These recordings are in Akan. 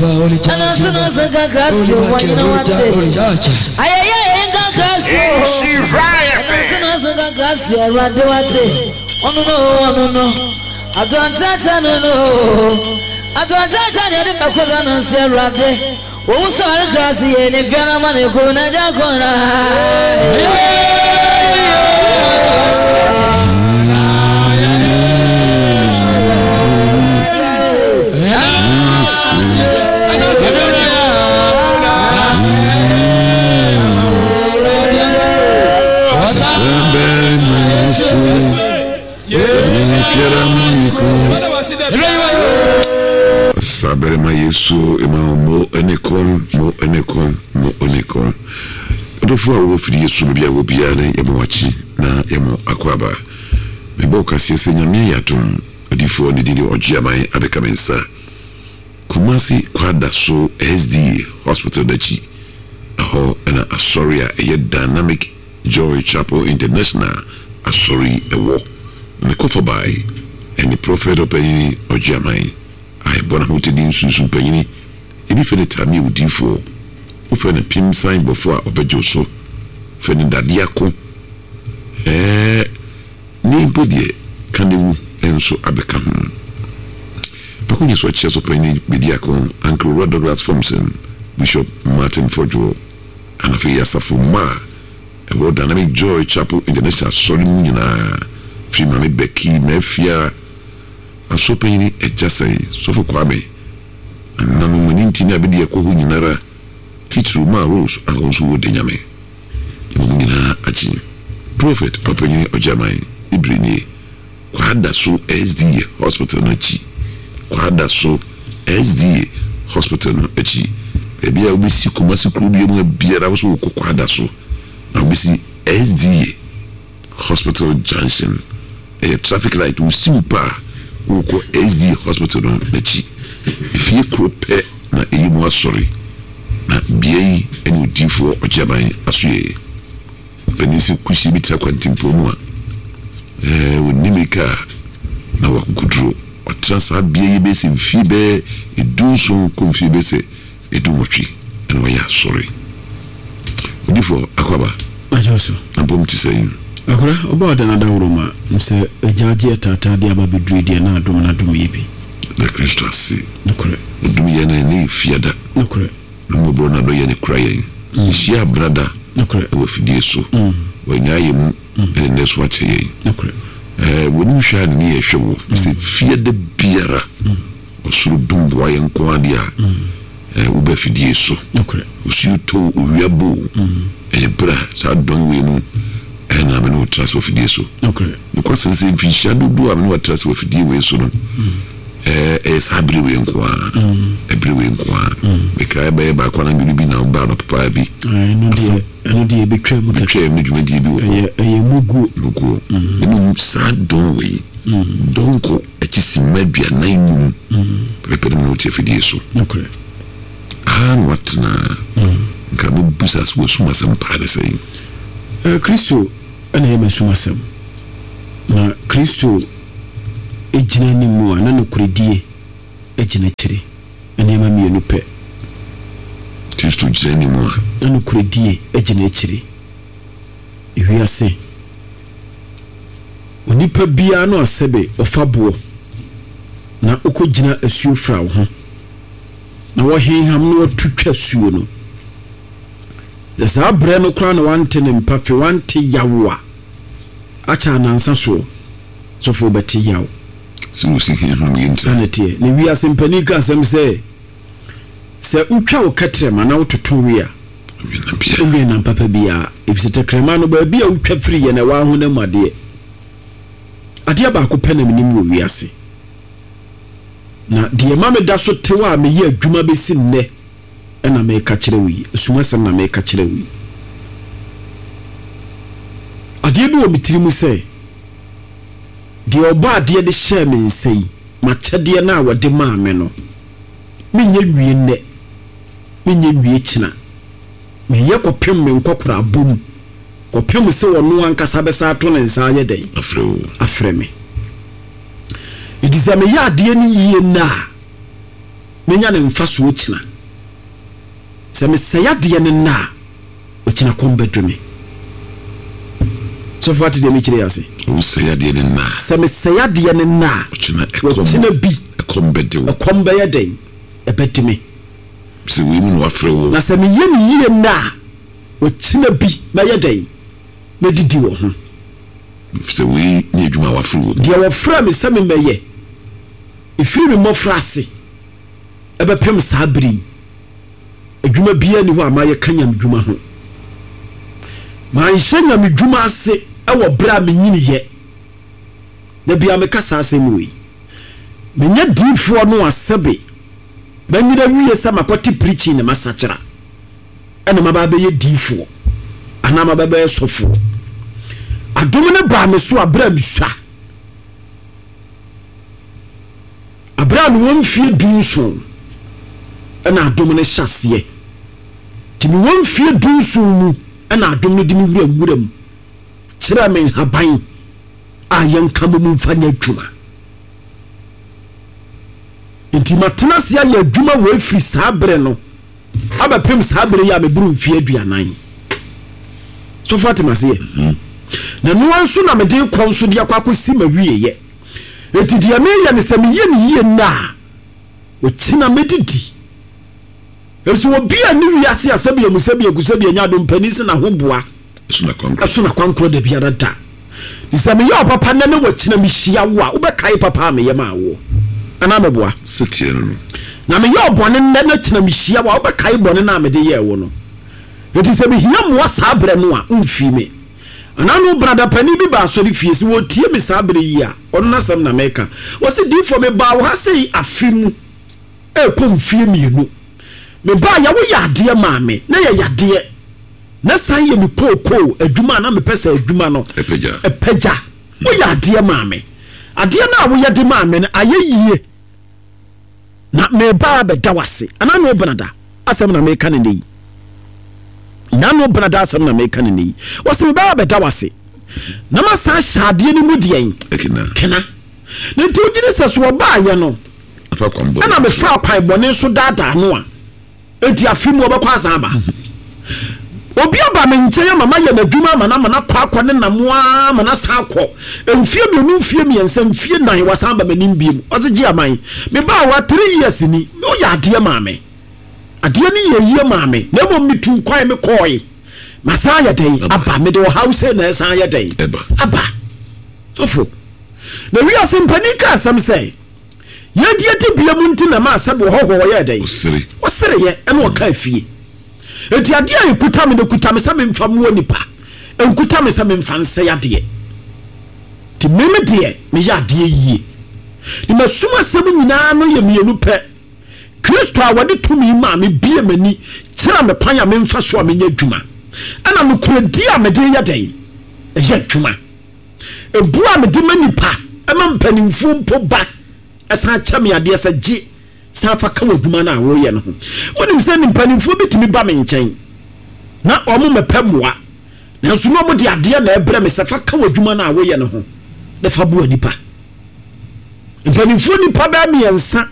Ɛna nso na nso nka krasi o wɔnyina wate. Ayɛyɛ ayɛyɛ nka krasi o. Nhyira Ɛna nso FM. na nso nka krasi o Awurade wate. Ɔno no o ɔno no. Adɔnkyerɛkyerɛ no no o. Adɔnkyerɛkyerɛ ne yɛde bɛkɔ Ghana nse Awurade. Owu sɔre krasi yɛ ne fia na ma ne ko na gya ko na. Saberema Yesu ema wo mo ne kɔn mo ne kɔn mo ne kɔn. Ɔdɔfo a wɔwɔ fidie so baabi a wɔ biara no yɛma wakyi na yɛma akɔ aba. Mebɔ wo kaseɛ sɛ Nyame ayɛ adom odiyifoɔ ne din de Ɔgyeaman abɛka me nsa. Kumasi Kwadaso SDA Hospital no akyi, ɛhɔ na asɔre a ɛyɛ Dynamic Joy Chapel International asɔre yi wɔ. Na ne kɔfabae ne Prɔfɛt Ɔpanyin Ɔgyeaman a ɛbɔ n'ahotadi nsunsum panyin, ebi frɛ no Tamia Odiyifoɔ, wofrɛ no Pem San Bɔfoɔ a ɔbɛgye wo so, frɛ no Dadeɛ Ako, ɛɛ ne mpo deɛ ka ne wu nso abɛka ho. Pakonye so akyia so panyin Bediako, Uncle Owura Douglas Fomson, Bishop Martin Fodjour, ɛna afei asafo mma a ɛwɔ Dynamic Joy Chapel International Asɔre mu nyinaa, firi Maame Becky Mafia, Asɔr panyin Agya Sɛe, Sɔfo Kwame, Nananom, ɛno nti na bɛdi ɛkɔ hɔ nyinara, titiriw maa Rose a ɔno nso wɔ Danyame. Yɛma mo nyinaa akye. Prophet Ɔpanyin Ɔgyeaman ne bere nie. Kwadaso SDA Hospital no akyi. Kwadaso SDA Hospital no akyi. Baabi a wobɛsi Kumasi kuro bia mu biara wo so wokɔ Kwadaso na wobɛsi SDA Hospital Junction. Ɛyɛ traffic light wosi wo pɛ a wokɔ SDA Hospital no n'akyi. Efie koro pɛ na ɛyɛ mu asɔre na bea yi ne odiyifoɔ Ɔgyeaman asoɛeɛ. Panin sɛ kusie bi tra kwantempɔn mu a, ɛɛ, ɔnni mmirika a na ɔwɔ akokoduro. Ɔtena saa bea yi bɛyɛ sɛ mfie bɛyɛ dunson kɔ mfie bɛyɛ sɛ dunwɔtwe na wayɛ asɔre. Odiyifoɔ Akwaaba, Agya so. Ampom te sɛn? Akora, ɔba ɔda no adaworo ma m sɛ agya agye ataataa de aba bɛduru deɛ na adom no adom yɛ bi. Da Kristo ase. Nokorɛ. Ɔdom yɛn na ɛnnɛ yɛ fiada. Nokorɛ. Ne mmɔborɔ no adɔ yɛn kura yɛn. Yɛhyia abrada wɔ afidie so. Wannyaa yɛn mu ne nnɛ so akyɛ yɛn. W'anim hwɛ a ne ne yɛ hwɛ wo. Sɛ fie da biara ɔsoro dum boa yɛn nko ara deɛ a, woba afidie so. Osuo tɔ o, owia bɔ o, ɛyɛ berɛ a saa dɔn wei mu na me ne wo tra ase wɔ afidie so. Nokwasɛm sɛ mfinhyia dodoɔ a me ne wo atra ase wɔ afidie wei so no, Ɛyɛ saa bere wei nko ara, ɛbere wei nko ara. Mekae bɛyɛ baako anaa mmienu bi na ɔbaa anɔpa paa bi. Ɛno deɛ, ɛno deɛ ebetwa mu kɛkɛ. Betwa mu ne dwumadie bi wɔ hɔ. Ɛyɛ, ɛyɛ muguo. Muguo. Na mmom saa dɔn wei, dɔnkɔ akyi simma 45 pɛpɛpɛ na me ne wo te afidie so. Nokorɛ. Aha na watena. Nka mɛbisa sɛ w'asum asɛm paa ne sɛn? Kristo na ɛyɛ m'asum asɛm. Na Kristo gyina anim a, na nokorɛdie gyina akyire. Nneɛma mmienu pɛ. Kristo gyina anim a. Na nokorɛdie gyina akyire. Ewiase, onipa biara no a sɛbe ɔfa boɔ na ɔkɔgyina asuo fra wo ho na wɔhenham na wɔto twa suo no, sɛ saa berɛ no koraa na wante ne mpafe, wante yaw a, akyɛ anansa soɔ, sɔfo wobɛte yaw. Sɛ wɔsi he ho yɛ nti. Saa na ɛteɛ. Na wiase mpanin ka asɛm sɛ, sɛ wotwa wo kɛtrɛma na wototo we a, wonwɛn nam papa biara, efisɛ tɛkrɛma no, baabi a wotwa firi yɛ na ɛwɔ ahonam mu adeɛ. Adeɛ baako pɛ na menim wɔ wiase, na deɛ ɛma meda so tew a meyɛ adwuma bɛsi nnɛ na mereka kyerɛ wo yi, asumasɛm na mereka kyerɛ wo yi. Adeɛ bi wɔ me tiri mu sɛ, deɛ ɔbɔ adeɛ de hyɛɛ me nsa yi, m'akyɛdeɛ no a wɔde maa me no, menyɛ nwie nnɛ, menyɛ nwie kyena. Meyɛ kɔpem me nkɔkorabɔ mu, kɔpem sɛ ɔno ankasa bɛsan ato ne nsa ayɛ dɛn? Afrɛ me. Enti sɛ meyɛ adeɛ no yie nnɛ a, Menya ne mfasoɔ kyina. Sɛ mesɛe adeɛ no nnɛ a, ɔkyina kɔm bɛdo me. Sɔfo ate deɛ mekyerɛ yi ase? Wosɛe adeɛ no nnɛ a. Sɛ mesɛe adeɛ no nnɛ a. Ɔkyena ɛkɔm. Ɔkyena bi. Ɛkɔm bɛde wo. Ɛkɔm bɛyɛ dɛn? Ɛbɛde me. Sɛ wei mu na wafrɛ wo. Na sɛ meyɛ no yie nnɛ a, ɔkyena bi mɛyɛ dɛn? Mɛdidi wɔ ho. Sɛ wei ne adwuma a wafrɛ wo mu. Deɛ wɔfrɛɛ me sɛ memmɛyɛ, ɛfiri me mmɔfraase bɛpem saa berɛ yi, adwuma biara nni hɔ a mayɛ ka nyamedwuma ho. Manhyɛ nyamedwuma ase wɔ berɛ a menyiniiɛ. Da biara meka saa asɛm wei. Menyɛ diifoɔ no a sɛbe manyini awie sɛ makɔte preaching na masakyera ɛna maba abɛyɛ diifoɔ anaa maba abɛyɛ sɔfoɔ. Adom no baa me so a berɛ a mesua. Bere a mewɔ mfeɛ dunson na adom no hyɛ aseɛ. Nti mewɔ mfeɛ dunson mu na adom no de me wura nwura mu kyerɛɛ me nhaban a yɛnka mmom mfa nyɛ adwuma. Nti matena ase ayɛ adwuma wei firi saa bere no abɛpem saa bere yi a meboro mfeɛ 40. Sɔfo ate maseɛ? Na noa nso na mede kɔ nso de akɔ akɔsi m'awieeɛ. Enti deɛ meyɛ ne sɛ meyɛ no yie nnɛ a, ɔkyena mɛdidi. Ɛfiri sɛ obi a ne wiase a sɛbi amu sɛbi agu sɛbi anya adom panin sɛ n'ahoboa ɛso n'akwankorɔ da biara da. Nti sɛ meyɛ ɔpapa nnɛ ne wɔkyena mehyia wo a, wobɛkae papa a meyɛ maa woɔ anaa meboa? Seteɛ no no. Na meyɛ ɔbɔne nnɛ na kyena mehyia wo a, wobɛkae bɔne no a mede yɛɛ wo no. Enti sɛ mehia mmoa saa berɛ no a, womfii me. Anaa no brada panin bi baa asɔrefie, sɛ wɔretie me saa berɛ yi a, ɔno n'asɛm na meka. Ɔse, Diifoɔ, mebaa wo ha sei afe mu ɛrekɔ mfeɛ mmienu. Mebaeɛ a, woyɛ adeɛ maa me, na ɛyɛ yadeɛ. Na san yɛ me kookoo adwuma a na mepɛ sɛ adwuma no ɛpagya. Woyɛ adeɛ maa me. Adeɛ no a woyɛ de maa me no, ayɛ yie. Na mereba abɛda wo ase. Anaa no benada asɛm na meka no nnɛ yi. Na no benada asɛm na meka no nnɛ yi. Wɔsi meba abɛda wo ase. Na masan ahyɛ adeɛ no mu deɛn? Kena. Na nti wogye di sɛ so ɔbaayɛ no ɛna mefa kwan bɔne so daadaa no a Enti afe mu ɔbɛkɔ asan aba. Obi aba me nkyɛn ama mayɛ n'adwuma ama no ama no akɔ akɔ ne nam ara ma no asan akɔ. Mfeɛ mmienu, mfeɛ mmiɛnsa, mfeɛ nnan, wasan aba m'anim bio. Ɔse gye aman. Mebaa hɔ a three years ni, woyɛ adeɛ maa me. Adeɛ no yɛɛ yie maa me, na mmom metuu kwan mekɔɔe. Masan ayɛ dɛn? Aba. Mede ɔhaw sei na ɛsan ayɛ dɛn? Aba. Sɔfo, na wiase mpanin ka asɛm sɛ, Yɛn deɛ dibea mu nti na ɛmaa sɛbe ɔhɔhoɔ ɔyɛɛ dɛn? Ɔsereeɛ ɛna ɔkaa fie. Enti adeɛ a ɛkuta me no ɛkuta me sɛ memfa mmoa nipa, ɛnkuta me sɛ memfa nsɛe adeɛ. Nti me me deɛ meyɛ adeɛ yie. Ne m'asum asɛm nyinaa no yɛ mmienu pɛ, Kristo a wɔde tumi maa me bie m'ani kyerɛ me kwan a memfa so a menyɛ adwuma, ɛna nokorɛdie a mede yɛ dɛn? Ɛyɛ adwuma. Ebu a mede ma nnipa ma mpanimfoɔ mpo ba san kyɛ me adeɛ sɛ gye san fa ka w'adwuma no a woreyɛ no ho. Wonim sɛ mpanimfoɔ bi tumi ba me nkyɛn na wɔn mmɛpɛ mmoa, nanso na wɔde adeɛ na ɛbrɛ me sɛ fa ka w'adwuma no a woyɛ no ho na fa boa nnipa. Mpanimfoɔ nnipa bɛyɛ mmiɛnsa.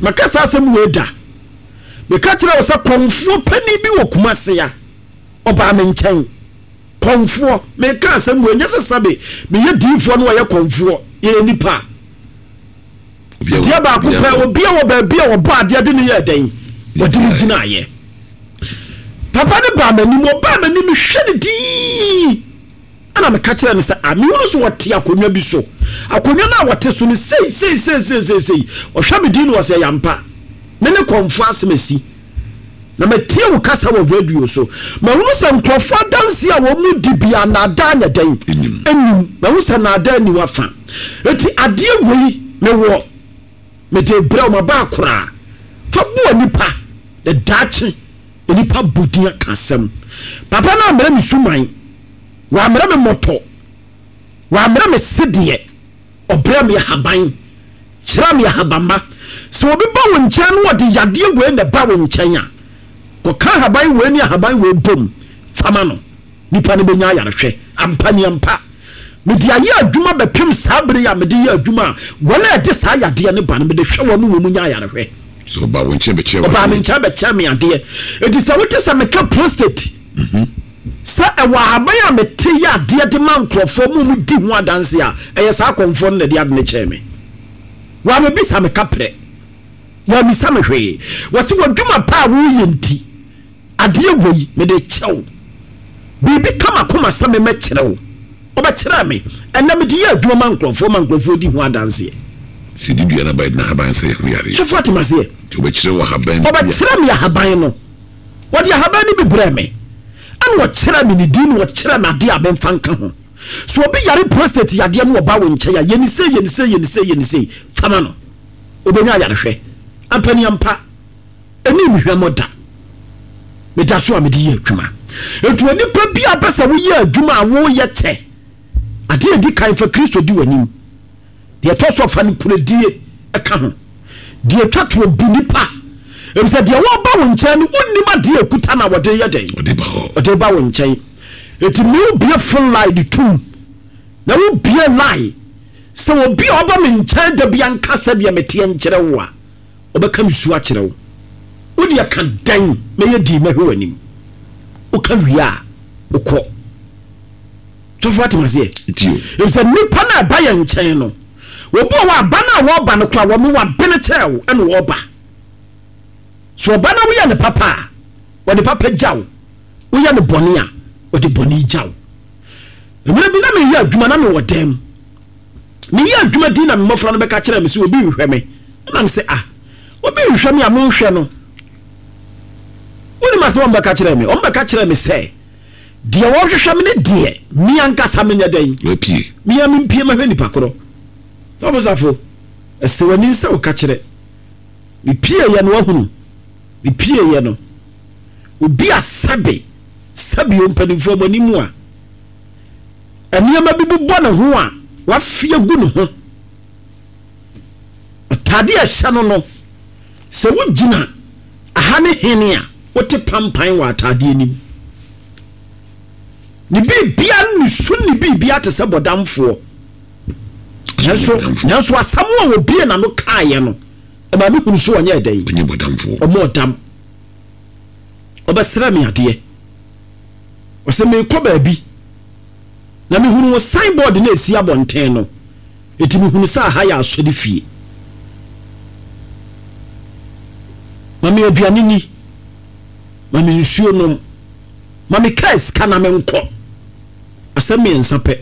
Maka saa asɛm wei da. Meka kyerɛ wo sɛ kɔmfoɔ panin bi wɔ Kumase a ɔbaa me nkyɛn. Kɔmfoɔ, meka asɛm wei, ɛnyɛ sɛ sɛbe meyɛ diifoɔ na ɔyɛ kɔmfoɔ, yɛyɛ nipa. Adeɛ baako pɛ, obi a wɔ baabi a ɔbɔ adeɛ de ne yɛ dɛn, wɔde ne gyinaeɛ. Papa no baa m'anim, ɔbaa m'anim, mehwɛ no dii, ɛna meka kyerɛ no sɛ, a mehunu so ɔte akonnwa bi so, akonnwa no a ɔte so no sei sei sei sei sei sei, ɔhwɛ me din na ɔsɛ ɛyɛ ampa, me ne kɔmfoɔ asɛm asi. Na matie wo kasa wɔ radio so. Mahunu sɛ nkurɔfoɔ adanseɛ a wɔn mu di biara nnaadaa nyɛ dɛn? Nnim. Mahu sɛ nnaadaa nni w'afa. Enti adeɛ wei mewɔ, mede rebrɛ wo, maba akoraa. Fa boa nnipa, na daakye nnipa bɔ din aka asɛm. Papa no ammrɛ me suman, wammrɛ me mmɔtɔ, wammrɛ me sedeɛ. Ɔbrɛ me ahaban, kyerɛ me ahabamma. Sɛ obi ba wo nkyɛn na ɔde yadeɛ wei na ɛba wo nkyɛn a, kɔka ahaban wei ne ahaban wei bom fa ma no. Nipa no bɛnya ayarehwɛ. Ampa ni ampa. Mede ayɛ adwuma bɛpem saa bere yi a mede yɛ adwuma a wɔn a ɛde saa yadeɛ no ba no, mede hwɛ wɔn ma wɔn nya ayarehwɛ. So ɔbaa wo nkyɛn bɛkyerɛ wo adeɛ? Ɔbaa me nkyɛn bɛkyerɛ me adeɛ. Enti sɛ wote sɛ meka prostate sɛ ɛwɔ ahaban a mete yɛ adeɛ de ma nkurɔfoɔ ma wɔn di ho adanse a, ɛyɛ saa akɔmfoɔ no na ɛde ade no kyɛɛ me. Wɔammɛbisa me kaprɛ. Wɔammisa me hwee. Wɔse w'adwuma pa a woreyɛ nti, Adeɛ wei, mede rekyɛ wo. Biribi ka m'akoma sɛ memmɛkyerɛ wo. Wobɛkyerɛɛ me. Ɛnnɛ mede yɛ adwuma ma nkurɔfoɔ ma nkurɔfoɔ di ho adanseɛ. Sɛ yɛdi dua no aba a, yɛde n'ahaban sa yɛn ho yareɛ. Sɔfo ate m'aseɛ? Nti ɔbɛkyerɛ wo ahaban bi a. Ɔbɛkyerɛ me ahaban no. Ɔde ahaban no bi brɛɛ me. Ɛna ɔkyerɛɛ me ne din na ɔkyerɛɛ me adeɛ a memfa nka ho. Sɛ obi yare prostate yadeɛ na ɔba wo nkyɛn a, yɛ no sei, yɛ no sei, yɛ no sei, yɛ no sei, fa ma no. Ɔbɛnya ayarehwɛ. Ampaniampa. Ɛnni me hwammɔ da. Meda so a mede yɛ adwuma. Enti onipa bi a pɛ sɛ woyɛ adwuma a woyɛ kyɛ. Adeɛ a ɛdi kan fa Kristo di w'anim. Deɛ ɛtɔ so fa nokorɛdie ka ho. Deɛ ɛtwa toɔ bu nipa. Efisɛ deɛ wɔreba wo nkyɛn no wonnim adeɛ a ɛkuta no a wɔde yɛ dɛn? Ɔde ba wo nkyɛn. Enti me wobue phone line de tom na wobue line sɛ obi a ɔba me nkyɛn da bi anka sɛdeɛ meteɛ nkyerɛ wo a, Ɔbɛka me su akyerɛ wo. Wo deɛ ka dɛn mɛyɛ dinn mɛhwɛ w'anim. Woka wie a, wokɔ. Sɔfo ate maseɛ? Efisɛ nnipa no a ɛba yɛn nkyɛn no, obi wɔ hɔ a ba no a wɔreba no koraa wɔn wabene kyɛɛ wo ɛna wɔreba. So ɔba na woyɛ no papa a, ɔde papa gya wo. Woyɛ no bɔne a, ɔde bɔne gya wo. Mmerɛ bi na meyɛ adwuma na mewɔ dan mu. Meyɛ adwuma din na me mmɔfra no bɛka kyerɛɛ me sɛ obi rehwɛ me. Ɛna me sɛ, ah, obi rehwɛ me a monhwɛ no. Wonim asɛm a wɔbɛka kyerɛɛ me? Wɔbɛka kyerɛɛ me sɛ, deɛ wɔrehwehwɛ me ne deɛ me ankasa menyɛ dɛn? Mapue. Me ara mempue mɛhwɛ nipa korɔ. Sɔfo Safo, ɛsɛ w'ani sɛ woka kyerɛ. Mepieeɛ no wahunu. Mepieeɛ no, obi a sɛbe, sɛbe o mpanimfoɔ mo anim a, Nneɛma bi bobɔ ne ho a wafe agu ne ho. Atade a ɛhyɛ no no, sɛ wogyina aha ne hene a, wote pampan wɔ atadeɛ no mu. Ne biribiara ne su ne biribiara te sɛ bɔdamfoɔ. Nanso, nanso asɛm a wɔbie n'ano kaeɛ no, ɛma mehunu sɛ ɔnyɛ dɛn? Ɔnyɛ bɔdamfoɔ. Ɔmɔ ɔdam. Ɔbɛsrɛ me adeɛ. Ɔsɛ merekɔ baabi na mehunu wo sign board no a ɛsi abɔnten no, enti mehunu sɛ aha yɛ asɔre fie. Ma me aduane ni, ma me nsuo nom, ma me kaa sika na menkɔ. Asɛm mmiɛnsa pɛ.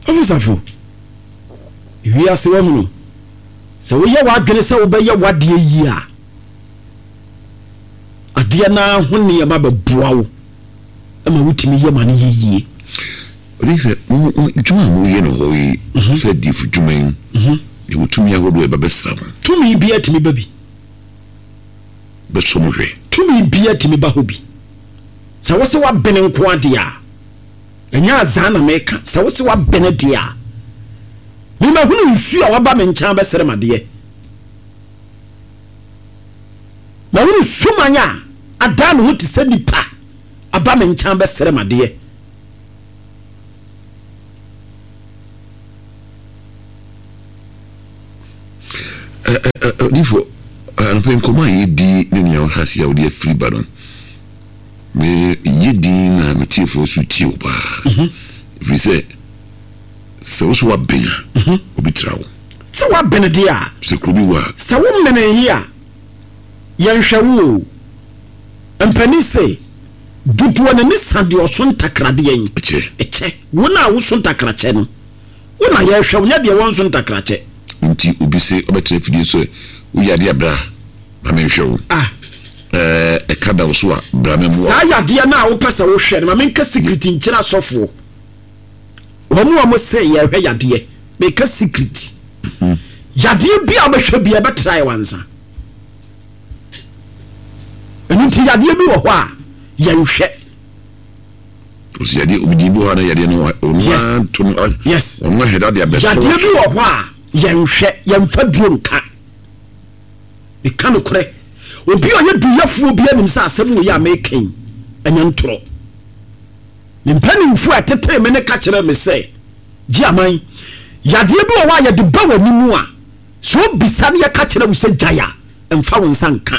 Ɔfisafo, wiase wahunu sɛ woyɛ w'adwene sɛ wobɛyɛ w'adeɛ yie a, Adeɛ no ara ho nneɛma bɛboa wo ma wotumi yɛ ma no yɛ yie. Ɔde sɛ, Dwuma a moreyɛ no hɔ yi, sɛ adiyifo dwuma yi, yɛwɔ tumi ahodoɔ a ɛba bɛsra mo. Tumi biara tumi ba bi. Bɛsɔ mo hwɛ. Tumi biara tumi ba hɔ bi. Sɛ wo se woabene nko ara deɛ a, ɛnyɛ azaa na meka, sɛ wo se woabene deɛ a, me mahunu nsuo a waba me nkyɛn abɛsrɛ me adeɛ. Mahunu suman a adan ne ho te sɛ nipa aba me nkyɛn abɛsrɛ me adeɛ. Odifo, anɔpa yi nkɔmmɔ a yɛdi ne nea ɔha ase a wode afiri ba no, meyɛ din na me tiefoɔ nso tie wo paa. Ɛfiri sɛ, sɛ wo so woaben a, obi tra wo. Sɛ woabene deɛ a. Sɛ kuro bi wɔ a. Sɛ womenee yi a, yɛnhwɛ wo o. Mpanin se, dodoɔ n'ani sa deɛ ɔso ntakradeɛ yi. Kyɛ. Kyɛ. Wo no a woso ntakrakyɛ no, wo na yɛrehwɛ wo, nyɛ deɛ wɔnso ntakrakyɛ. Nti obi se ɔbɛtena afidie so ɛ, woyɛ adeɛ a bra ma menhwɛ wo. Ah. Ɛɛ, ɛka da wo so a, bra mɛmmoa wo. Saa yadeɛ no a wopɛ sɛ wohwɛ no, ma menka secret nkyerɛ asɔfoɔ. Wɔn a wɔse yɛrehwɛ yadeɛ, meka secret. Yadeɛ bi a wobɛhwɛ bi a ɛbɛtra yɛ wansa. Ɛno nti yadeɛ bi wɔ hɔ a yɛnhwɛ. Ɔsi yadeɛ obi di bi wɔ hɔ a na yadeɛ no ɔno ara to no. Yes. Ɔno ahwɛ dade abɛsɔ. Yadeɛ bi wɔ hɔ a yɛnhwɛ, yɛnfa duro nka. Meka nokorɛ. Obi a ɔyɛ duyɛfoɔ bi anim sɛ asɛm wei a meka yi ɛnyɛ ntorɔ. Me mpanimfoɔ a ɛtetee me no ka kyerɛɛ me sɛ, Gye aman, yadeɛ bi wɔ hɔ a yɛde ba w'anim a, sɛ wobisa na yɛka kyerɛ wo sɛ gyae a, mfa wo nsa nka.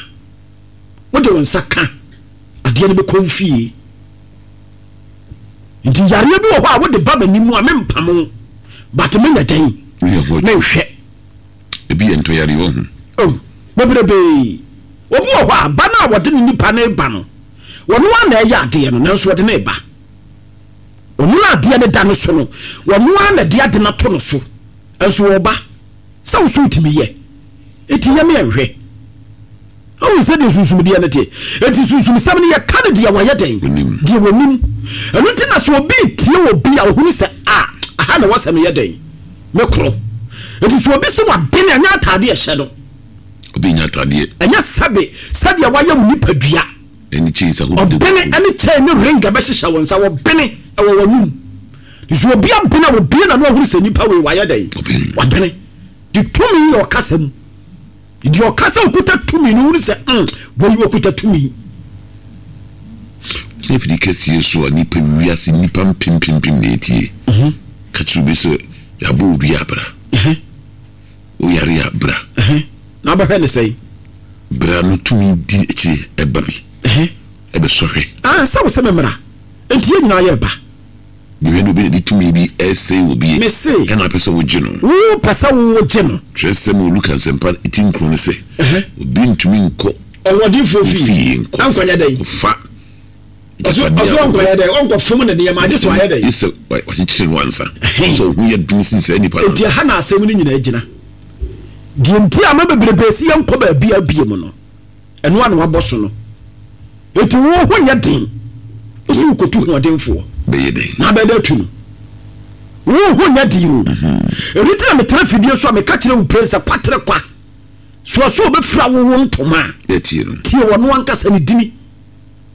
Wode wo nsa ka, adeɛ no bɛkɔ wo fie. Nti yareɛ bi wɔ hɔ a wode ba m'anim a mempamo wo, but menyɛ dɛn? Menhwɛ. Ebi yɛ ntɔyareɛ wɔ ho. Oh, bebrebee. Obi wɔ hɔ a, ba no a wɔde ne nipa no reba no, ɔno ara na ɛyɛ adeɛ no, nanso wɔde no reba. Ɔno na adeɛ no da no so no, ɔno ara na ɛde ade no ato no so, nso ɔreba. Sɛ wo so wotumi yɛ, enti yɛ me nhwɛ. Wohu sɛdeɛ sunsumdeɛ no te? Enti sunsumsɛm no yɛka no deɛ wɔyɛ dɛn? Deɛ wɔnim. Ɛno nti na sɛ obi retie obi a, ɔhunu sɛ, a, aha na ɛwɔ sɛ meyɛ dɛn? Mekorɔ. Enti sɛ obi se wabene a, ɛnyɛ ataadeɛ ɛhyɛ no. Obi nyɛ ataadeɛ. Ɛnyɛ sɛbe sɛdeɛ wayɛ wo nipadua. Ɛne chain sɛ ahodoɔ. Ɔbene ɛne chain ne ring ɛbɛhyehyɛ wo nsa. Wɔbene ɛwɔ w'anum. Sɛ obi abene a, obue n'ano ahunu sɛ nipa wei wayɛ dɛn? Wabene. De tumi yɛ ɔkasa mu. Deɛ ɔka sɛ ɔkuta tumi no hunu sɛ mm, wei ɔkuta tumi. Sɛ afidi kɛseɛ so a nnipa wiase nnipa mpempempem na ɛtie. Ka kyerɛ obi sɛ yɛabɔ wo dua a bra. Woyare a bra. Na wobɛhwɛ ne sɛn? Bra no tumi di akyire ɛba bi. Ɛbɛsɔ hwɛ. Ah, sɛ wo sɛ me mmra. Enti yɛn nyinaa yɛreba. Mehwɛ na obi na de tumi bi resɛe obi Mese. ɛna apɛ sɛ wogye no. Wo pɛ sɛ wo wogye no. Twerɛsɛm wɔ Luka Nsɛmpa ti nkron no sɛ, Obi ntumi nkɔ Ɔhoɔdenfoɔ wo fie fie nkɔ nkɔnyɛ dɛn? kɔfa Ɔso agyapadeɛ ɔso a ɔwɔ ɔnkɔyɛ dɛn? Ɔnkɔfom ne nneɛma agye sɛ wayɛ dɛn? Gye sɛ wakyekyere no ansa. Sɛ wo ho yɛ den sen saa nipa no Enti ansa. ɛha na asɛm no nyinaa gyina. Deɛ nti a ama bebrebe se yɛnkɔ baabiara biom no. Ɛno ara na wabɔ so no. Enti wo ho nyɛ den. Wo sɛ wokɔtu hoɔdenfoɔ. Bɛyɛ dɛn? Na abɛyɛ dɛ atu no. Wo ho nyɛ den o. Ɛno nti na metena fidie so a meka kyerɛ wo pren sɛ kwatere kwa. So ɔsɛ ɔbɛfira wo wo ntoma a. Tie no. Tie ɔno ankasa ne dini.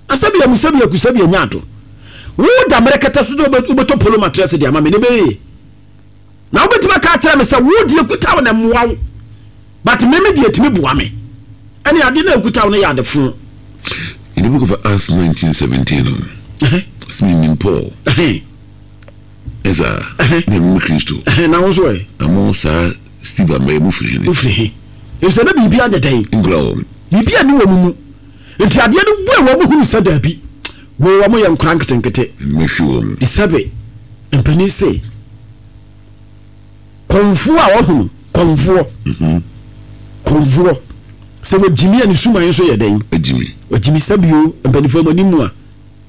Asɛbi amu sɛbi aku sɛbi anya ado. Wo da mmerɛkɛtɛ so sɛ wobɛtɔ polo matrɛse de ama me ne bɛyɛ. Na wobɛtumi aka akyerɛ me sɛ wo deɛ kuta wo na mmoa wo but me me deɛ ɛtumi boa me. Ɛne adeɛ no a ɛkuta wo no yɛ ade fo. In the book of Acts 19:17 no, ɔsɛ menim Paul. Ɛsaa, na meme Kristo. Na wo nso ɛ? Na mo saa Steve ama yi, mofiri hene? Mofiri he? Efisɛ na biribi anyɛ dɛn? Nkura wɔn. Biribi anni wɔn mu. Nti adeɛ no bue wɔn hunu sɛ daabi, wei wɔn yɛ nkora nketenkete. Mɛhwe wɔn. Sɛbe Mpanin se, Kɔmfoɔ a wahunu kɔmfoɔ, kɔmfoɔ, sɛ wagyimi a ne suman nso yɛ dɛn? Wagyimi. Wagyimi. Sɛbio, mpanimfoɔ mo anim mu a,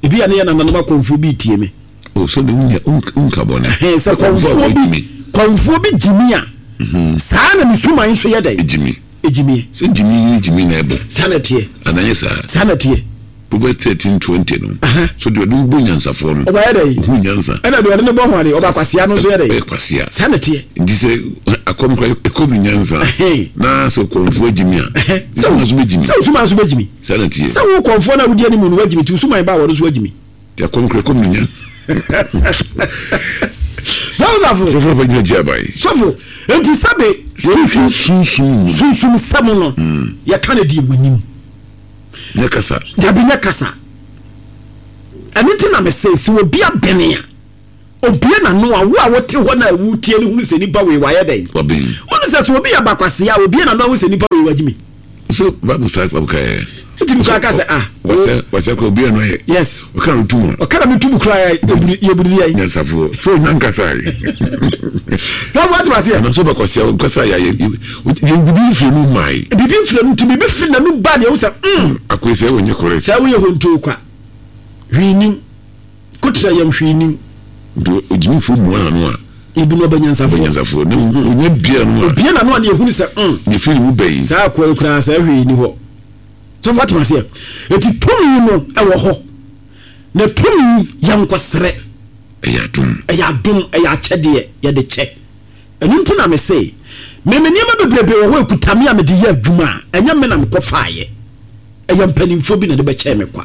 ebi a ne yɛ nananom akɔmfoɔ bi retie me. O, sɛ de wonya, wonka bɔne. Ɛhɛn, sɛ kɔmfoɔ bi, kɔmfoɔ bi gyimi a, saa na ne suman nso yɛ dɛn? Egyimi. Egyimie. Sɛ gyimi ne gyimi na ɛbɔ. Saa na ɛteɛ. Anaa ɛnyɛ saa? Saa na ɛteɛ. Proverbs 13:20 no, so deɛ ɔde no bɔ nyansafoɔ no, Ɔbɛyɛ dɛn? ɔhunu nyansa. Ɛna deɛ ɔde no bɔ hwane, ɔba kwasea no nso yɛ dɛn? Ɔyɛ kwasea. Saa na ɛteɛ. Nti sɛ akɔm kora ɛkɔm ne nyansa, na sɛ ɔkɔmfoɔ agyimi a, Sɛ ne nso bɛgyimi. Sɛ wo suman nso bɛgyimi. Saa na ɛteɛ. Sɛ wo kɔmfoɔ no a wodi anim no wagyimi, nti wo suman ba a wɔno nso wagyimi. Nti akɔm kora ɛkɔm ne nyansa. Sɔfo. Sɔfo bɛgyina gye aban. Sɔfo, nti sɛbe sunsum sunsum sunsum sɛm no, yɛka no deɛ wɔnim. Nyɛ kasa. Dabi nyɛ kasa. Ɛno nti na mese sɛ obi abene a, obue n'ano a, wo a wote hɔ no a wotie no hunu sɛ nipa wei wayɛ dɛn? Waben. Wonu sɛ sɛ obi yɛ bakwasea a, obue n'ano a wohu sɛ nipa wei wagyimi. So Bible saa Bible ka yɛ. Wotumi koraa ka sɛ ah. Wasɛ wasɛ kora obi ano yɛ. Yes. Ɔka no tum a. Ɔka na me tum koraa yɛ yɛburu yɛ. Nyansafoɔ so onya nkasa yi. Sɛ wate waseɛ. Anaasɛ ɔbɛkwasea nkasa yɛ ayɛ bibi mfiri mu mmae. Bibi mfiri mu nti bibi firi n'anum ba deɛ wohu sɛ mm. Akoe sɛ wonyɛ correct. Sɛ woyɛ hontoo kwa. Hwee nim. Kotra yam hwee nim. Nti ogyimifoɔ mua n'ano a. Ebi no ɔbɛ nyansafoɔ. Ɔbɛ nyansafoɔ na onya bia no a. Obie n'ano a ne ehunu sɛ mm. Ne firi mu bɛyi. Saa akoa yi koraa sɛ hwee ni hɔ. Sɔfo atem aseɛ. Eti tumi no ɛwɔ hɔ. Na tumi yɛ nkɔsrɛ. Ɛyɛ adom. Ɛyɛ adom, ɛyɛ akyɛdeɛ yɛde kyɛ. Ɛno nti na mese, me me nneɛma bebrebe wɔ hɔ ekuta me a mede yɛ adwuma a, ɛnyɛ me na mekɔfaeɛ. Ɛyɛ mpanimfoɔ bi na de bɛkyɛɛ me kwa.